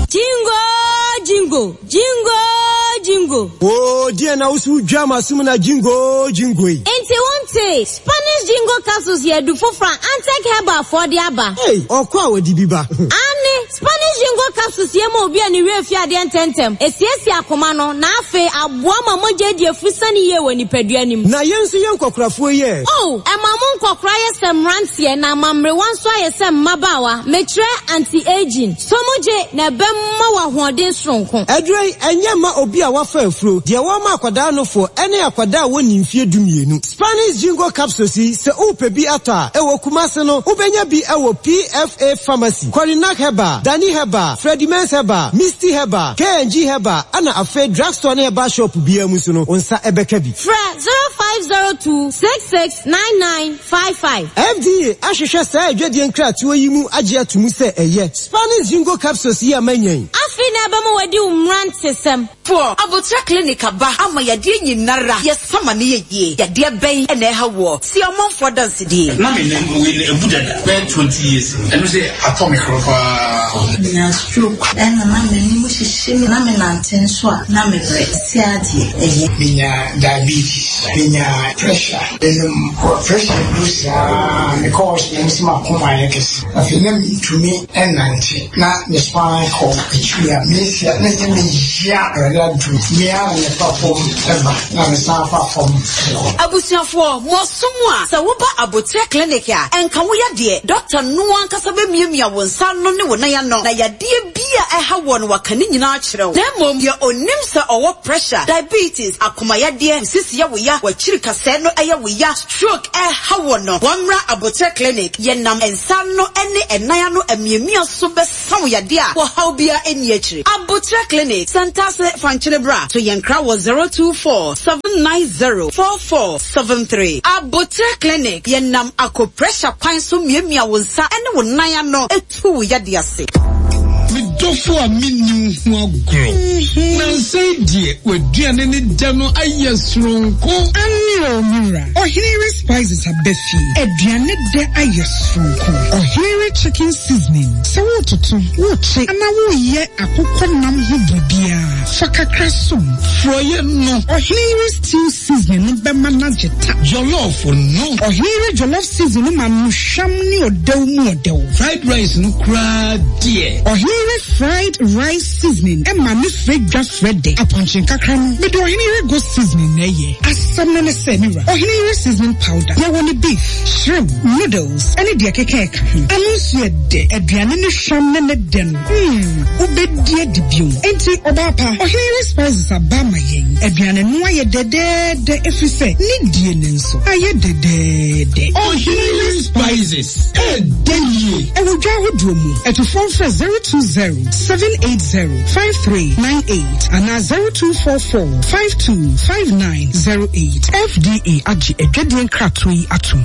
I: Jingo jingo, jingo jingo.
J: Oo deɛ na woso wodwa m'asom na jingo jingo yi.
I: Nti wontee? Spanish jingo capsules yɛ adu foforɔ a Antec Herbal foɔ de aba.
J: Ei, ɔkɔ a wɔde bi ba.
I: Aane, Spanish Jingo Capsules yɛ ma obi a ne werɛ fi adeɛ ntɛmntɛm, ɛsiesie akoma no, na afei aboa ma mogya adi afusane yie wɔ nipadua no mu.
J: Na yɛn nso yɛn nkɔkorafoɔ yi ɛ?
I: Oh, ɛma mo nkɔkora yɛ sɛ mmeranteɛ na ama mmerewa nso ayɛ sɛ mmabaawa, mekyerɛ anti-aging. Sɔ mu gye na ɛbɛma wo ahoɔden soronko.
J: Aduro yi, ɛnyɛ mma obi a wafa afuro, deɛ wɔma akwadaa nofoɔ, ɛne akwadaa a wɔnnii mfeɛ dumienu. Spanish Jingo Capsules yi, sɛ worepɛ bi atɔ a, ɛwɔ Kumasi no, wobɛnya bi wɔ PFA Pharmacy, Korinak Herbal, Dani Herbal, Freddie Mens Herbal, Misty Herbal, K&G Herbal, ɛna afei drugstore ne herbal shop biara mu nso no, wo nsa bɛka bi.
I: Frɛ 0502 66 99 55.
J: FDA ahwehwɛ saa adwadie nkratoɔ yi mu agye ato mu sɛ ɛyɛ. Spanish Jingo Capsules yi a manya yi.
I: Afei na ɛbɛma wadi wo mmerantesɛm.
K: Foɔ, Aboterɛ Clinic aba ama yadeɛ nyinara yɛ sa ma no yɛ yie. Yadeɛ bɛn na ɛha woɔ? Tie ɔmanfoɔ adansedie.
L: Na me nan wei no abu dada bɛyɛ 20 years ni. Ɛno sɛ atɔ me koro paa. Menyaa stroke ɛna na m'anim hyehye me na menante nso a na mebrɛ. Seesei ara deɛ ɛyɛ.
M: Menyaa diabetes, menyaa pressure, menom pressure aduru saa mekɔ hospital na wɔse m'akoma ayɛ kɛse. Afei na mentumi nnante na me spine kɔ akyiri a mesia na ɛyɛ me ya. Awurade adom me ara na mefa fam ba na mesan fa fam kɔ.
K: Abusuafoɔ, mo aso mu a, sɛ woba Aboterɛ Clinic a, ɛnka wo yadeɛ. Dɔkta no ankasa bɛmiamia wo nsa ano ne wo nan ano, na yadeɛ bi a ɛha woɔ no waka ne nyinaa akyerɛ wo. Na mmom, deɛ ɔnim sɛ ɔwɔ pressure, diabetes, akoma yadeɛ, wo sisi yɛ wo ya, w'akyiri kasɛɛ no yɛ wo ya, stroke ɛreha wo no, wɔmmra Aboterɛ Clinic. Yɛnam nsa ano ne ɛnan ano amiamia so bɛsa wo yadeɛ a ɔhaw biara nni akyire. Aboterɛ Clinic, Santase Fankyere Bra, to yɛn kra wɔ 024 790 4473. Aboterɛ Clinic, yɛnam acupressure kwan so miamia wo nsa ne wo nan ano tu wo yadeɛ ase.
B: Me dɔfo a menni wo ho agorɔ. Nnansa yi deɛ w'aduane ne dɛ no ayɛ soronko.
G: Aane o me wura, Ɔhene Yere Spices aba fie. Aduane dɛ ayɛ soronko. Ɔhene Yere Chicken Seasoning, sɛ woretoto, worekye anaa woreyɛ akokɔ nam ho biribiara, fa kakra som.
B: Frɔeɛ no.
G: Ɔhene Yere Stew Seasoning no bɛma no agye ta.
B: Jollof no.
G: Ɔhene Yere Jollof Seasoning no ma no hwam ne ɔdɛw mu ɔdɛw.
B: Fried rice no koraa deɛ.
G: Ɔhene Yere Fried Rice Seasoning ma ne frɛ dwa frɛ dɛ. Apɔnkye nkakra no, mede Ɔhene Yere Goat Seasoning na ɛyɛ. Asɛm no ne sɛ, me wura, Ɔhene Yere Seasoning Powder, yɛwɔ no beef, shrimp, noodles, ne deɛ ɛkeka ɛka ho. Ano nso yɛ dɛ. Aduane no hwam ne ne dɛ no, hmm, wobɛdi adi bio. Enti, ɔbaa pa, Ɔhene Yere Spices aba ama yɛn. Aduane no ayɛ dɛdɛɛdɛ ɛfiri sɛ ne die no nso ayɛ dɛdɛɛdɛ.
B: Ɔhene Yere Spices, ɛɛdɛ yie.
G: Ɛwɔ dwa ahodoɔ mu. Atufoɔ mfrɛ 020 780 5398 anaa 0244 525908. FDA agye adwadie nkratoɔ yi atom.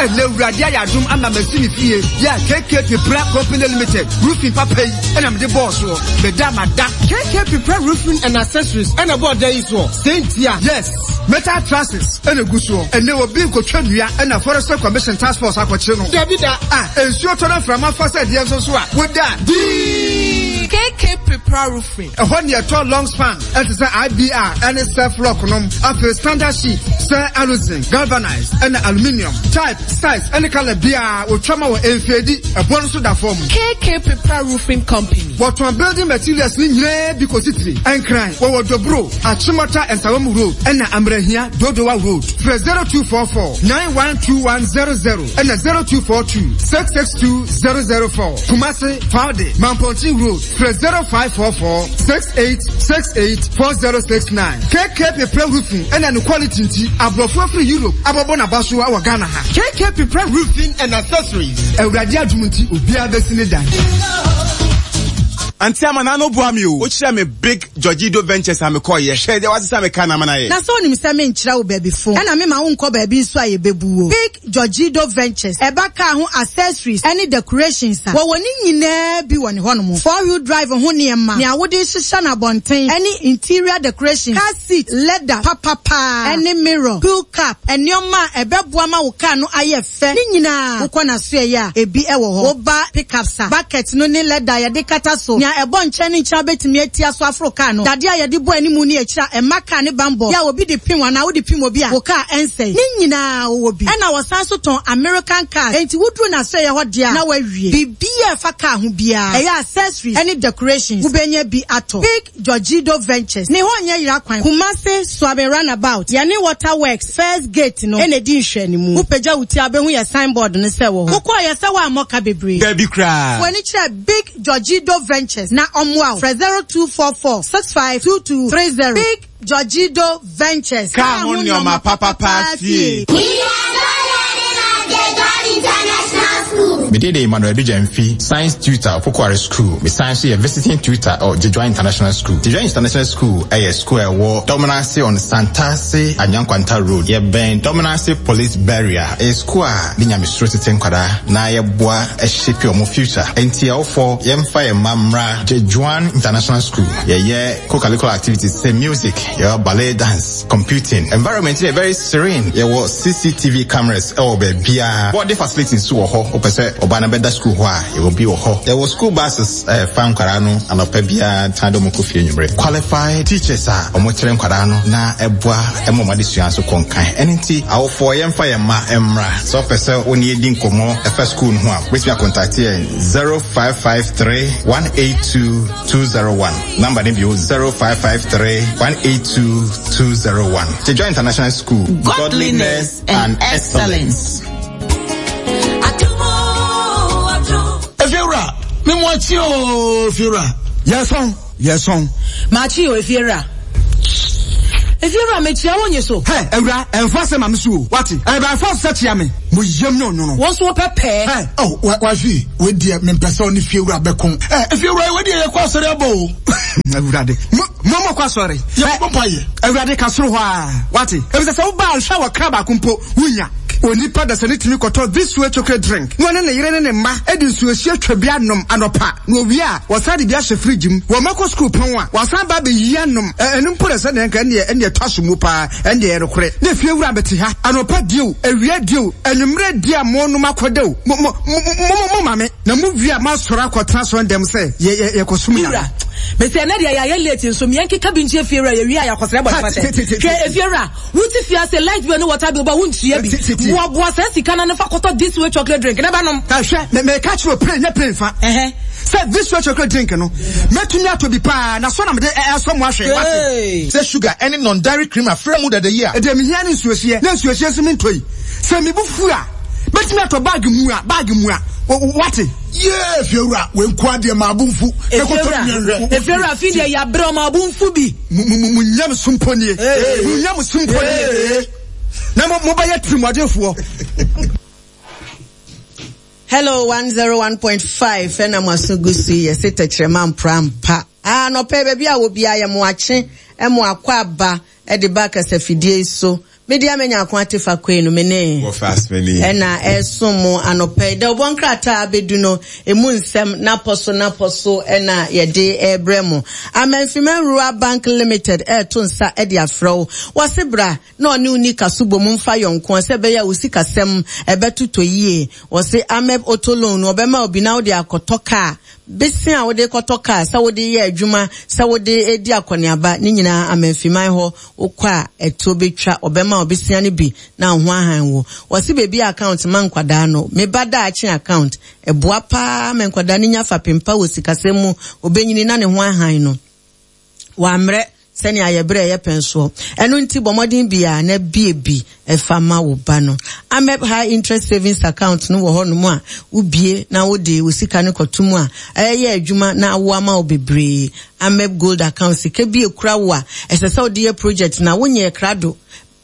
A: Ɛnɛ Awurade ayɛ adom ama masi me fie yɛ a KK Pepra Company Limited roofing papa yi ɛna mede bɔɔ soɔ. Meda mada.
J: KK Pepra Roofing and Accessories ɛna ɛbɔɔ dan yi soɔ.
A: Sɛ ntia. Yes. Metal trusses ɛna egu soɔ. Ɛnɛ obi nkotwa nnua ɛna Forestry Commission Task Force akɔkye no.
J: Dabi da.
A: Ah, nsuo tɔ na mframa fa sɛ deɛ nso so a, woda dii.
H: KK Pepra Roofing.
A: Ɛhɔ ne ɛtɔ long span ɛte sɛ IBR ɛne self lock nom. Afei standard sheet sɛ aluzinc, galvanized ɛna aluminium. Type, size ɛne color biara wɔtwa ma wɔ ɛnfeedi. Ɛboɔ no nso da fam.
H: KK Pepra Roofing Company.
A: Wɔtɔn building materials no nyinaa bi kɔsi tire. Nkran, wɔwɔ Dobro, Achimota Nsawam Road ɛna Amrahia, Dodowa Road. Frɛ 0244 912100 ɛna 0242 662 004. Kumasi, Faude, Mampɔnten Road. Frɛ 0544 6868 4069. KK Pepra Roofing ɛna ne quality nti, aborɔfo afiri Europe abɔbɔ n'abasoa wɔ Ghana ha.
J: KK Pepra Roofing and Accessories.
A: Awurade adom nti, obiara bɛsi ne dan.
F: Auntie Ama n'ano boa me o. Wokyerɛ me Big Georgido Ventures a mekɔɔyɛ. Hwɛ deɛ wasesa me car no ama no ayɛ.
E: Na sɛ wonim sɛ menkyerɛ wo baabi fo ɛna mema wonkɔ baabi nso a yɛbɛbu wo. Big Georgido Ventures, ɛba car ho accessories ɛne decorations a, wɔwɔ ne nyinaa bi wɔ ne hɔnom. Four wheel drive ho nneɛma, nea wode hyehyɛ no abɔnten ɛne interior decorations, car seat, leather papa paa ɛne mirror, wheel cap, nneɛma a ɛbɛboa ma wo car no ayɛ fɛ ne nyinaa wokɔ n'asoɛeɛ a, ebi wɔ hɔ. Woba pickups a, bucket no ne leather a yɛde kata so, nea ɛbɔ nkyɛn ne nkyɛn a wobɛtumi atia so aforo kaa no, dadeɛ a yɛde bɔ animu ne akyire a ɛmma kaa ne bammɔ yɛ a obi de pem anaa wode pem obi a, wo kaa ɛnsɛe. Ne nyinaa wɔwɔ bi. Ɛna wɔsan nso tɔn American cars, enti woduru n'asoɛeɛ hɔ deɛ a, na woawie. Biribiara a ɛfa kaa ho biara, ɛyɛ accessories ne decorations, wobɛnya bi atɔ. Big. Georgido Ventures ne hɔ nyɛ yera kwan, Kumasi Suaben Runabout, yɛne Water Works first gate no na ɛdi nhwɛanimu. Wo pagya wo ti a wobɛhu yɛ sign board no sɛ ɛwɔ hɔ. Wokɔɔ yɛ sɛ woammɔ ka bebree.
F: Dabi koraa.
E: Fa w'ani kyerɛ Big Georgido Ventures na ɔmmoa wo. Frɛ 0244 652230. Big Georgido Ventures,
F: Kaa ho nnoɔma papapaa fie.
I: We are not learning at the God International School.
N: Me din de Emmanuel Adu Gyamfi, Science Tutor wɔ Pokuare School. Me san nso yɛ Visiting Tutor wɔ Gyedwan International School. Gyedwan International School yɛ school a ɛwɔ Dɔmenase on Santase Anyankwanta Road. Yɛbɛn Dɔmenase Police Barrier. Ɛyɛ school a de nyamesuro tete nkwadaa na yɛboa shape wɔn future. Enti awofoɔ yɛmfa yɛn mma mmra Gyedwan International School. Yɛyɛ co-curricular activities sɛ music, yɛwɔ ballet dance, computing. Environment no yɛ very serene. Yɛwɔ CCTV cameras wɔ baabiara. Boarding facility nso wɔ hɔ. Wopɛ sɛ ɔba no bɛda school hɔ a, yɛwɔ bi wɔ hɔ. Yɛwɔ school buses a ɛfa nkwadaa no anɔpa biara san de wɔn kɔ fie anwummere. Qualified teachers a wɔkyerɛ nkwadaa no na ɛboa ma wɔn adesua nso kɔ nkan. Ɛno nti, awofoɔ yɛmfa yɛn mma mmra. Sɛ wopɛ sɛ wo ne yɛn di nkɔmmɔ ɛfa school no ho a, wobɛtumi akontakte yɛn 0553 182 201. Number no bio 0553 182 201. Jejoy International School.
O: Godliness and excellence.
P: Efiewura, me mu akyi o, Efiewura.
Q: Yɛsɔn, yɛsɔn.
D: Makyi o, Efiewura. Efiewura, mekyia wo nye so.
Q: Hɛ, awura, ɛnfa asɛm ma me so o, wate? Ɛyɛ by force sɛ kyia me. Mo yam nyɛ ɔnwono.
D: Wo nso wopɛ pɛɛ.
Q: Hɛ.
P: Oh, wa, wafi, wei deɛ mempɛ sɛ ɔne fiewura bɛko. Ɛ, efiewura, wei deɛ yɛkɔ asɔre abɔ o.
Q: Awurade, mo, mo mo kɔ asɔre.
P: Yɛbɔ mpaeɛ.
Q: Awurade, ka soro hɔ a, wate? Efisɛ sɛ woba a, nhwɛ a wɔkra baako mpo, wunnya. Onipa dasani tumi kɔtɔ This Way chocolate drink na ɔne ne yere ne ne mma de nsuohyeɛ twa bi anom anɔpa, na wɔwie a, wɔsan de bi ahyɛ fridge mu. Wɔn mma kɔ sukuu pɔn a, wɔasan aba abɛyi anom. Ɛ, ɛno mpo na sɛdeɛ nka ɛnneɛ, ɛnneɛ ɛtɔ asom mu paa. Ɛndeɛ ɛyɛ nokorɛ, na efiewura bɛte ha, anɔpa die o, awia die o, anwummerɛ die a monom akɔda o, mo, mo, mo, mo, mo ma me, na mowie a moasɔre akɔtena asɔrendɛm sɛ yɛ, yɛ, yɛkɔsom
D: Me
Q: Nyame.
D: wura, mese ɛnɛ deɛ yɛayɛ late nso meɛ nkeka bi nkyerɛ fiewura yɛwie a yɛakɔsrɛ
Q: Ha,
D: bɔne
Q: te, te, te,
D: fakyɛ. Hwɛ
Q: te,
D: efiewura, wote fie ase light bill ne water bill ba wontua bi.
Q: te, te, te.
D: Boaboa saa sika no ano fa kɔtɔ this way chocolate drink na bɛnom.
Q: Na hwɛ, me, meka kyerɛ wo plain, nyɛ plain fa.
D: Ɛhɛ.
Q: Sɛ this way chocolate drink no, mɛtumi atɔ bi paa, na sɔ na mede ɛ, ɛsɔ mo ahwɛ, wate?
B: Sɛ sugar ne non-dairy cream afra mu dada yi a.
Q: Deɛ mehia ne nsuohyeɛ, na nsuohyeɛ nso mentɔ yi. Sɛ me bo fu a, mɛtumi atɔ bag mua, bag mua, wate?
P: Yee, Fiewura, wei nkoa deɛ maa bo mfu. Mɛkɔtɔ bi nhwɛ.
D: Efiewura, afei deɛ yɛabrɛ ɔma bo mfu bi.
Q: Mo, mo, mo nyamesom mpo nie. Mo nyamesom mpo nie. Na mo, mobɛyɛ tirimuɔdenfoɔ.
E: Hello 101.5 ɛna mo aso gu so yi yɛse tɛkyerɛma mpra mpa. Ah, anɔpɛ baabi a wɔ biara yɛ mo akye mo akɔ aba de ba kasafidie yi so. Me deɛ menya ako ate fa koe no me ne ɛna ɛsom mo anɔpɛ yi. Dawubɔ nkrataa abɛdu no emu nsɛm napɔ so napɔ so ɛna yɛde ɛrebrɛ mo. Amanfiman Rural Bank Limited ɛreto nsa de afrɛ wo. Wɔse bra na ɔne wo nni kaso bom mfa yɔnkoa sɛ ɛbɛyɛ a wo sikasɛm ɛbɛtotɔ yie. Wɔse Ameb Auto Loan no ɔbɛma wo bi na wode akɔtɔ kaa. Bese a wode kɔtɔ kaa, sɛ wode yɛ adwuma, sɛ wode redi akɔneaba, ne nyinaa Amanfiman hɔ wokɔ a ɛtoɔ bɛtwa, ɔbɛma wo besea no bi na wo ho ahan wo. Wɔse baabi a account ma nkwadaa no, me ba daakye account, ɛboa paa ma nkwadaa no nya fapem pa wɔ sikasɛm mu, ɔbɛnyini na ne ho ahan no. Wammrɛ sɛnea yɛbrɛ yɛ pɛn soɔ. Ɛno nti bɔ mmɔden biara na bue bi fa ma wo ba no. Amep High Interest Savings Account no wɔ hɔnom a wobue na wode wo sika no kɔto mu a, ɛyɛ adwuma na awo ama wo bebree. Amep Gold Account, sika bi ekura wo a ɛsɛ sɛ wode yɛ project na wonyɛɛ krado.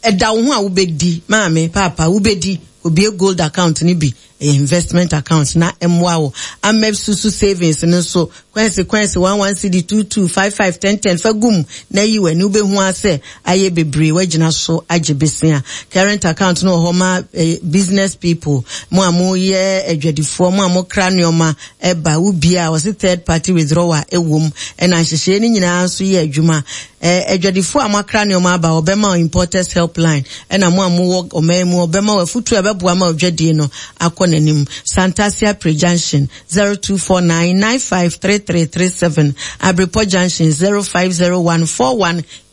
E: Ɛda wo ho a wobɛdi, maame, paapa, wobɛdi, kɔbue gold account no bi, ɛyɛ investment account na ɛmmoa wo. Amep Susu Savings no nso, kwansi kwansi, one one cedi, two two, five five, ten ten, fa gu mu na yi w'ani, wobɛhu ara sɛ ayɛ bebree, woagyina so agye besia. Current account no wɔ hɔ ma eh, business people, mo a moyɛ adwadifoɔ, mo a mokra nneɛma ɛba, wobie a wɔse third party withdrawal ɛwom, ɛna nhyehyɛeɛ no nyinaa nso yɛ adwuma. Eh, adwadifo a moakra nneɛma aba, wɔbɛma wo Importers Helpline, ɛna mo a mowɔ ɔman mu, wɔbɛma wo afutuo a ɛbɛboa ma odwadie no akɔ n'anim. Santasi Apre Junction, 0249953337, Abrepɔ Junction,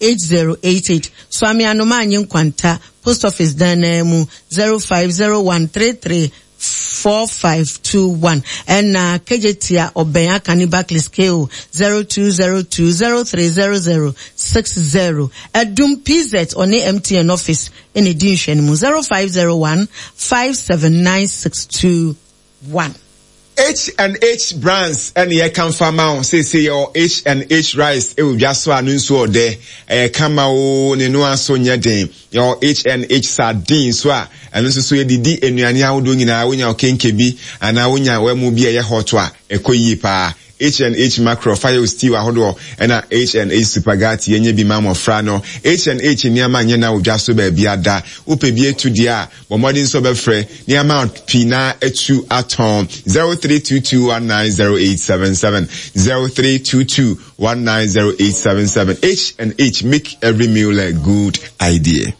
E: 0501418088, Suame Anoma Anyi Nkwanta, Post Office dan no ara mu, 050133 4521 ɛna Kejetia ɔbɛn Akani Barclays KO 0202030060 Adum PZ ɔne MTN office ɛna ɛdi nhwɛnimu 0501 579621.
F: H and H Brands ɛna yɛkamfo ama wo. Seesei yɛwɔ H and H rice ɛwɔ dwa so a no nsuo ɔdɛ. Ɛyɛ kama oo, ne noa nso nyɛ den. Yɛwɔ H and H sardine nso a ɛno nso so yɛde di nnuane ahodoɔ nyinaa. Wonya okenke bi anaa wonya wamu bi a ɛyɛ hot a, ɛkɔ yie paa. H and H mackerel, fa yɛ wo stew ahodoɔ, ɛna H and H supagati, yɛnyɛ bi ma mmɔfra no. H and H nneɛma nyɛ na wɔ dwa so baabiara da. Wopɛ bi atu deɛ a, Bɔ mmɔden sɛ wobɛfrɛ nneɛma pii na atu atɔn 0322190877 0322190877 H and H make every meal a good idea.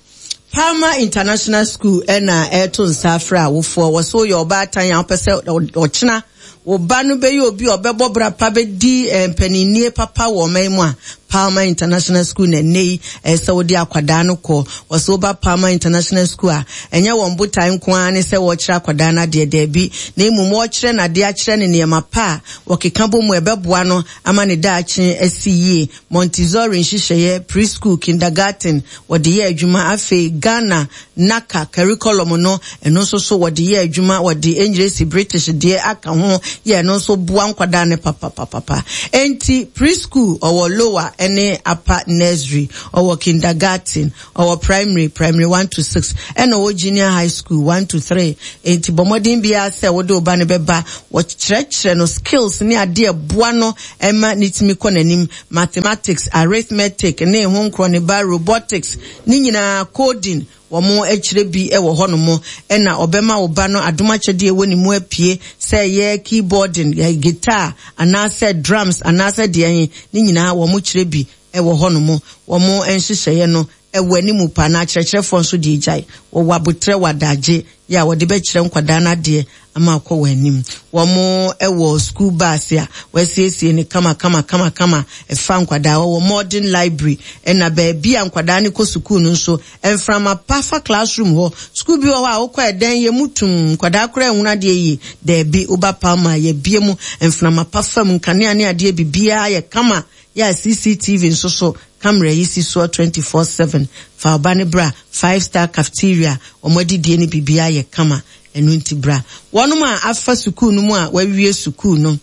E: Palmer International School na ɛreto nsa afrɛ awofoɔ. Wɔ sɛ woyɛ ɔbaatan a wopɛ sɛ ɔkyena wo ba no bɛyɛ obi a ɔbɛbɔ bra pa bɛdi eh, mpaninnie papa wɔ ɔman mu a, Palmer International School na ɛnnɛ yi ɛyɛ sɛ wode akwadaa no kɔ. Wɔ sɛ woba Palmer International School a, ɛnyɛ wɔn botae nko ara ne sɛ wɔrekyerɛ akwadaa no adeɛ, daabi, na mmom wɔrekyerɛ no adeɛ akyerɛ no nneɛma pa a wɔkeka bɔ mu a ɛbɛboa no ama ne daakye asi yie. Montessori nhyehyɛeɛ, preschool, kindergarten, wɔde yɛ adwuma. Afei Ghana NaCCA curriculum no, ɛno nso so wɔde yɛ adwuma, wɔde Enyiresi British deɛ aka ho yɛ ɛno nso boa nkwadaa no papapapapa. Enti preschool ɔwɔ lower ne upper nursery, ɔwɔ kindergarten, ɔwɔ primary, primary 1 to 6, ɛna ɔwɔ junior high school 1 to 3. Enti bɔ mmɔden biara sɛ wode wo ba no bɛba, wɔkyerɛkyerɛ no skills ne adeɛ ɛboa no ɛma ne tumi kɔ n'anim, mathematics, arithmetic ne ho nkorɔ ne ba, robotics, ne nyinaa, coding, wɔn kyerɛ bi wɔ hɔ nom, ɛna ɔbɛma wo ba no adom akyɛdeɛ ɛwɔ ne mu apue, sɛ ɛyɛ keyboarding, guitar, anaasɛ drums, anaasɛ deɛ he, ne nyinaa wɔn kyerɛ bi wɔ hɔ nom. Wɔn nhyehyɛeɛ no wɔ anim paa, na akyerɛkyerɛfoɔ nso deɛ gyae, wɔwɔ aboterɛ wɔ adagye yɛ a wɔde bɛkyerɛ nkwadaa no adeɛ ama akɔ wɔn anim. Wɔn wɔ school bus a wɔasiesie no kama kama kama kama ɛfa nkwadaa. Wɔwɔ modern library ɛna baabi a nkwadaa no kɔ sukuu no nso mframa pa fa classroom hɔ. Sukuu bi wɔ hɔ a wokɔ ɛdɛn yɛ mu tum nkwadaa koraa nhunu adeɛ yie. Daabi woba Palma a yɛbie mu mframa pa fa mu nkanea ne adeɛ bibiara yɛ kama yɛ a CCTV nso so camera yi si soɔ 24/7. Fa wo ba no bra five star cafeteria wɔn adidie ne biribiara yɛ kama. Ɛno nti bra. Wɔnom a afa sukuu no mu a wɔawie sukuu no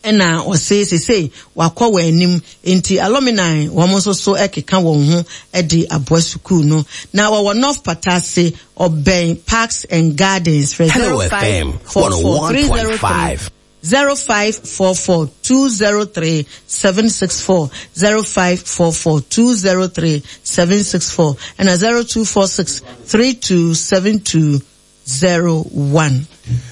E: ɛna ɔse sesei wakɔ wɔn anim nti alumni wɔn nso so ɛkeka wɔn ho de aboa sukuu no. Na wɔwɔ North Patase ɔbɛn Parks and Gardens. Frɛ
R: Hello FM
E: 0544 303
R: 101.5.
E: 0544 203 764 0544 203 764 ɛna 0246 3272 01.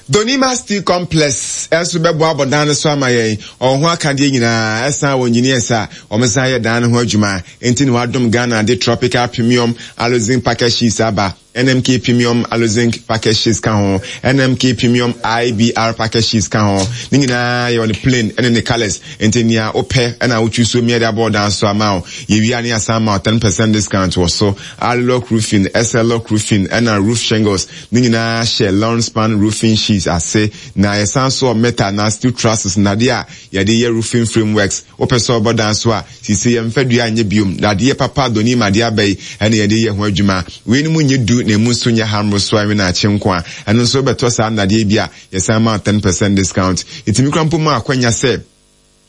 F: Donima Steel Complex nso bɛboa abɔ dan no so ama yɛn. Ɔwɔ ho akadeɛ nyinaa, ɛsan wɔ engineers a wɔn san yɛ dan no ho adwuma. Enti na wadom Ghana de Tropical Premium Aluzinc Package Sheets aba. NMK Premium Aluzinc Package Sheets ka ho, NMK Premium IBR Package Sheets ka ho. Ne nyinaa yɛwɔ no plain ne ne colours. Enti nea wopɛ na wo choose mia de abɔ wo dan so ama wo. Yɛwie a ne yɛasan ama wo 10% discount wɔ so. Alulock Roofing, SLock Roofing ɛna Roof Shingles ne nyinaa hyɛ Long Span Roofing Sheets ase. Na yɛsan nso wɔ metal anaa steel trusses, nnadeɛ a yɛde yɛ roofing frameworks. Wopɛ sɛ wobɔ dan so a, Seesei yɛmfa dua nyɛ biom, dadeɛ papa dɔnim adeɛ aba yi na yɛde yɛ ho adwuma. Weinom nyɛ du na emu nso nyɛ ha mmorosoa nwenaakye nko a. Ɛno nso wobɛtɔ saa nnadeɛ yi bi a, yɛsan ma wo ten percent discount. Yɛtumi koraa mpo ma wo akwanya sɛ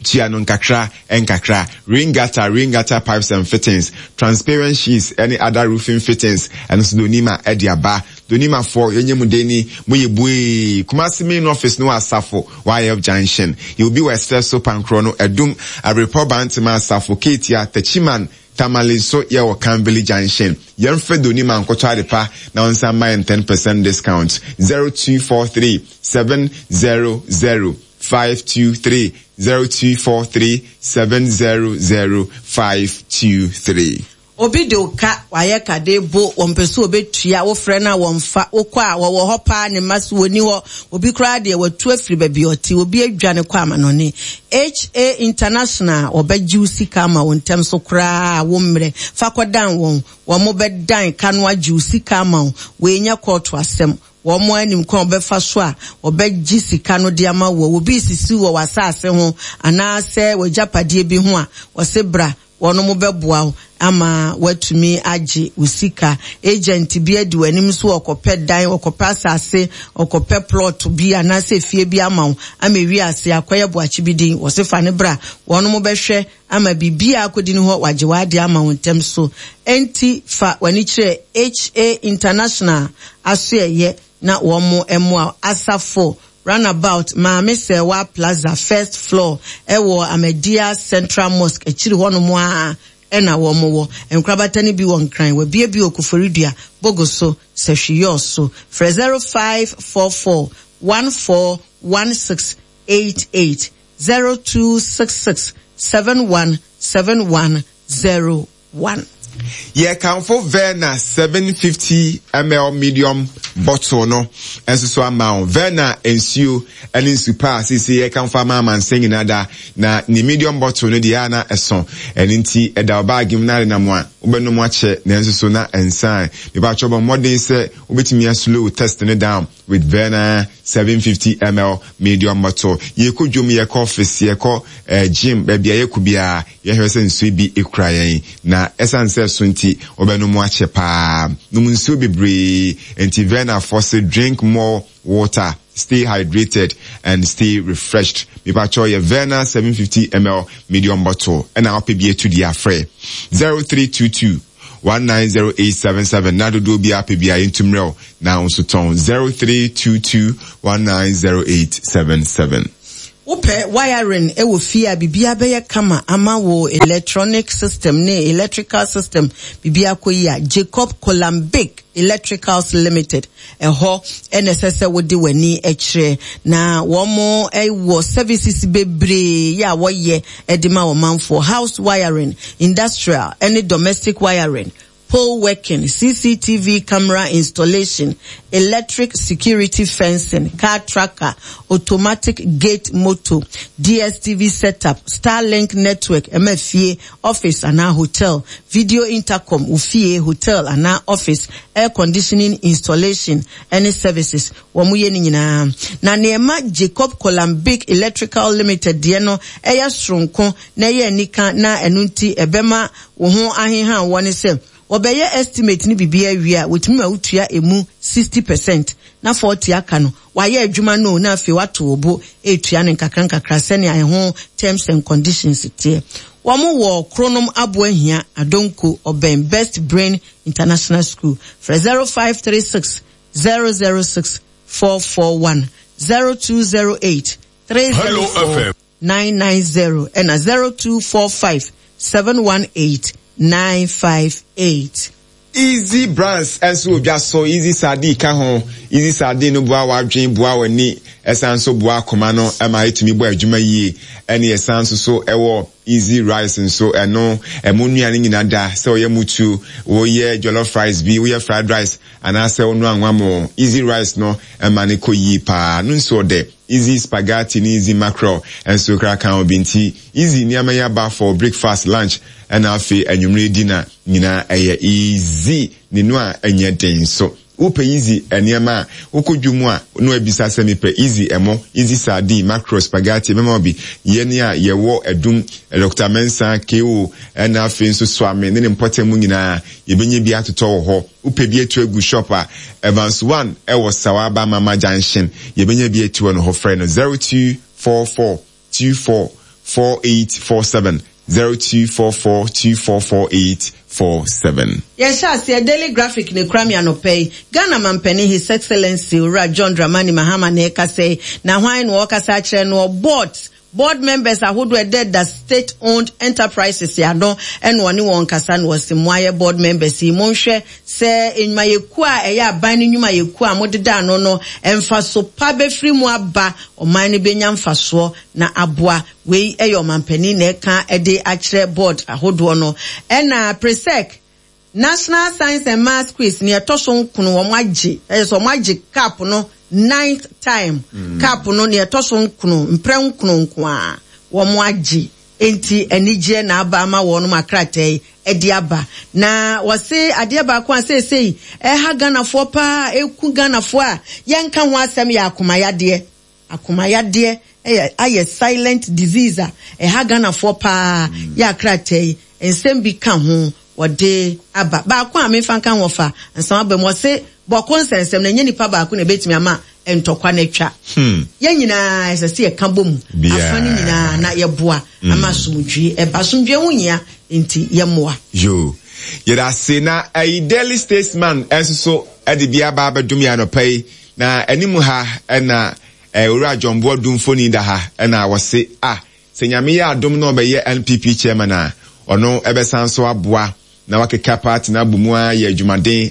F: tua no nkakra nkakra. Rain gutter, rain gutter pipes and fittings, transparent sheets ne other roofing fittings, ɛno nso Donima de aba. Donimafoɔ, yɛnyɛ mu dɛ ni, moyɛ buee. Kumasi main office no wɔ Asafo, YF Junction. Yɛwɔ bi wɔ Ɛserɛ so, Pankorɔ no, Adum, Abrepɔ, Bantama, Asafo, Ketia, Techiman, Tamale nso yɛwɔ Kanvili Junction. Yɛmfrɛ Donima nkɔtɔ adepa na ɔnsan mma yɛn 10% discount. 0243 700 523 0243 700 523.
E: Obi de wo ka, wayɛ ka de bo, wɔmpɛ sɛ wɔbɛtua, wofrɛ no a wɔmfa, wokɔ a wɔwɔ hɔ paa ne mma so wɔnni hɔ, obi koraa deɛ watu afiri baabi a ɔte, obi adwane kɔ amanɔne. HA International wɔbɛgye wo sika ama wo ntɛm so koraa a wo mmerɛ, fa kɔdan wɔn, wɔn bɛdan ka no agye wo sika ama wo, wei nyɛ kɔɔto asɛm, wɔn ara nim kwan a wɔbɛfa so a wɔbɛgye sika no de ama woɔ. Obi resisi wo wɔ w'asase ho anaasɛ w'agyapadeɛ bi ho a, wɔse bra. Wɔnom bɛboa wo ama woatumi agye wo sika. Agent bi adi w'anim nso ɔkɔpɛ dan, ɔkɔpɛ asase, ɔkɔpɛ plot bi anaasɛ fie bi ama wo ama ewie ase akɔyɛ boakye bi din. Wɔse fa no bra. Wɔnom bɛhwɛ ama biribiara akɔdi ne hɔ, wɔagye w'adeɛ ama wo ntɛm so. Enti fa w'ani kyerɛ HA International asoɛeɛ na wɔn mmoa wo. Asafo Runabout, Maame Serwaa Plaza, first floor, ɛwɔ Ahmadiyya Central Mosque akyiri hɔnom ara na wɔn wɔ. Nkorabata no bi wɔ Nkran, wɔabue bi wɔ Koforidua, Bogoso, Sahwi so. Frɛ 0544 141688, 0266 717101.
F: Yɛkamfo Verna 750 ml medium bottle no nso so ama wo. Verna nsuo ne nsu pa a seesei yɛkamfo ama amansan nyinaa da, na ne medium bottle no deɛ a na ɛso. Ɛno nti ɛda wo baage mu na adenam a wobɛnom akyɛ nanso so na ɛnsan. Mepakyɛw bɔ mmɔden sɛ wobɛtumi aslow test no down with Verna 750 ml medium bottle. Yɛkɔ dwom, yɛkɔ office, yɛkɔ eh, gym, baabi a yɛkɔ biara, yɛhwɛ sɛ nsuo bi kura yɛn. Na ɛsiane sɛ ɛso nti, wobɛnom akyɛ paa. Nom nsuo bebree. Enti Verna foɔ se drink more water, stay hydrated and stay refreshed. Mepakyɛw yɛ Verna 750 ml medium bottle ɛna wopɛ bi atu deɛ a frɛ 0322 190877 na dodoɔ biara pɛ biara yɛntu mmerɛ wo na wo nso tɔn 0322 190877.
E: Wopɛ wiring wɔ fie a biribiara bɛyɛ kama ama wo electronic system ne electrical system biribiara kɔ yie a, Jacob Kolambik Electricals Limited ɛhɔ na ɛsɛ sɛ wode w'ani kyerɛ. Na wɔn wɔ services bebree yɛ a wɔyɛ de ma ɔmanfoɔ, house wiring, industrial ne domestic wiring, pole working, CCTV camera installation, electric security fencing, car tracker, automatic gate motor, DSTV setup, Starlink network, ɛma fie, office anaa hotel, video intercom, wo fie, hotel anaa office, air conditioning installation ne services. Wɔyɛ ne nyinaa. Na nea ɛma Jacob Kolambic Electrical Limited deɛ no yɛ soronko na ɛyɛ anika na ɛno nti ɛbɛma wo ho aheha woɔ ne sɛ, wɔbɛyɛ estimate ne biribiara wie a, wɔtumi ma wotua ɛmu 60 percent na 40 aka no, wɔayɛ adwuma no o na afei woato wo bo retua no nkakra nkakra sɛnea ɛho terms and conditions teɛ. Wɔn wɔ Kronom Aboahia, Adonko, ɔbɛn Best Brain International School. Frɛ 0536 006 441, 0208 304 990 ɛna 0245 718 958.
F: Easy Brands nso wɔ dwa so, Easy Sardine ka ho. Easy Sardine no boa w'adwene, boa w'ani, ɛsan nso boa akoma no ma ɛtumi bɔ adwuma yie. Ɛne ɛsan nso so ɛwɔ Easy Rice nso, ɛno ɛmo nnuane nyina da, sɛ woyɛ mutuo, woyɛ jollof rice bi, woyɛ fried rice, anaasɛ wonoa anwa Easy Rice no ɛma no kɔ yie paa. No nso ɔdɛ. Easy Spaghetti ne Easy Mackerel nso koraa ka ho bi nti easy nneɛma yi aba for breakfast, lunch ɛna afei anwummere dinner nyinaa ɛyɛ easy ne noa ɛnyɛ den nso. Wopɛ easy nneɛma a, wokɔ dwom a na wabisa sɛ mepɛ easy ɛmo, easy sardine, mackerel, spaghetti ɛbɛma wo bi. Yɛn a yɛwɔ Adum, Doctor Mensah, KO ɛna afei nso Suame ne ne mpɔtam mu nyinaa yɛbɛnya bi atotɔ wɔ hɔ. Wopɛ bi atu agu shop a, Evans One wɔ Sawaba Mama Junction. Yɛbɛnya bi atu wɔ no hɔ. Frɛ no 0244 24 4847, 0244 24 4847.
E: Yɛhyɛ aseɛ Daily Graphic na ɛkura me anɔpa yi. Ghana Mampanin His Excellency Owura John Dramani Mahama na ɛrekasa yi. Na hwan na ɔrekasa akyerɛ no? Ɔbɔɔd Board members ahodoɔ a ɛdeda state owned enterprises ano na ɔne wɔn kasa na ɔse moayɛ board members yi monhwɛ sɛ nnwumayɛkuo a ɛyɛ aban no nnwumayɛkuo a modeda ano no mfaso pa bɛfiri mu aba ɔman no bɛnya mfasoɔ na aboa. Wei yɛ ɔmanpanin na ɛka de akyerɛ board ahodoɔ no. Ɛna Presec National Science and Maths Quiz nea ɛtɔ so nkono wɔn agye ɛyɛ sɛ wɔn agye cup no ninth time mm. cup no nea ɛtɔ so nkono mprɛ nkono nko a wɔn agye nti anigyeɛ na aba ama wɔn akrataa yi ɛde aba na wɔse adeɛ baako a seesei ɛha Ghanafoɔ paa ɛku Ghanafoɔ a yɛnka ho asɛm yɛ akomayadeɛ. Akoma yadeɛ yɛ ayɛ silent disease a ɛha Ghanafoɔ paa yɛ a krataa yi. Nsɛm bi ka ho wɔde aba. Baako a memfa nka ho ɔfa ansa waba mu, ɔse bɔko nsɛnsɛm no ɛnyɛ nipa baako na ɛbɛtumi ama ntɔkwa no atwa.
F: Hmm.
E: Yɛn nyinaa ɛsɛ sɛ yɛka bɔ mu afa no nyinaa na yɛboa hmm. ama asomdwie ɛba. Asomdwie ho hia nti yɛmmoa.
F: Yo. Yɛda ase na ɛyi Daily Statesman nso so ɛde bi aba abɛdom yɛn anɔpa yi na anim ha ɛna Owura John Boadu mfoni da ha ɛna wɔse ah Sɛ Nyame yɛ adom na ɔbɛyɛ NPP chairman a, ɔno bɛsan nso aboa na wakeka party no abɔ mu ara ayɛ adwumaden.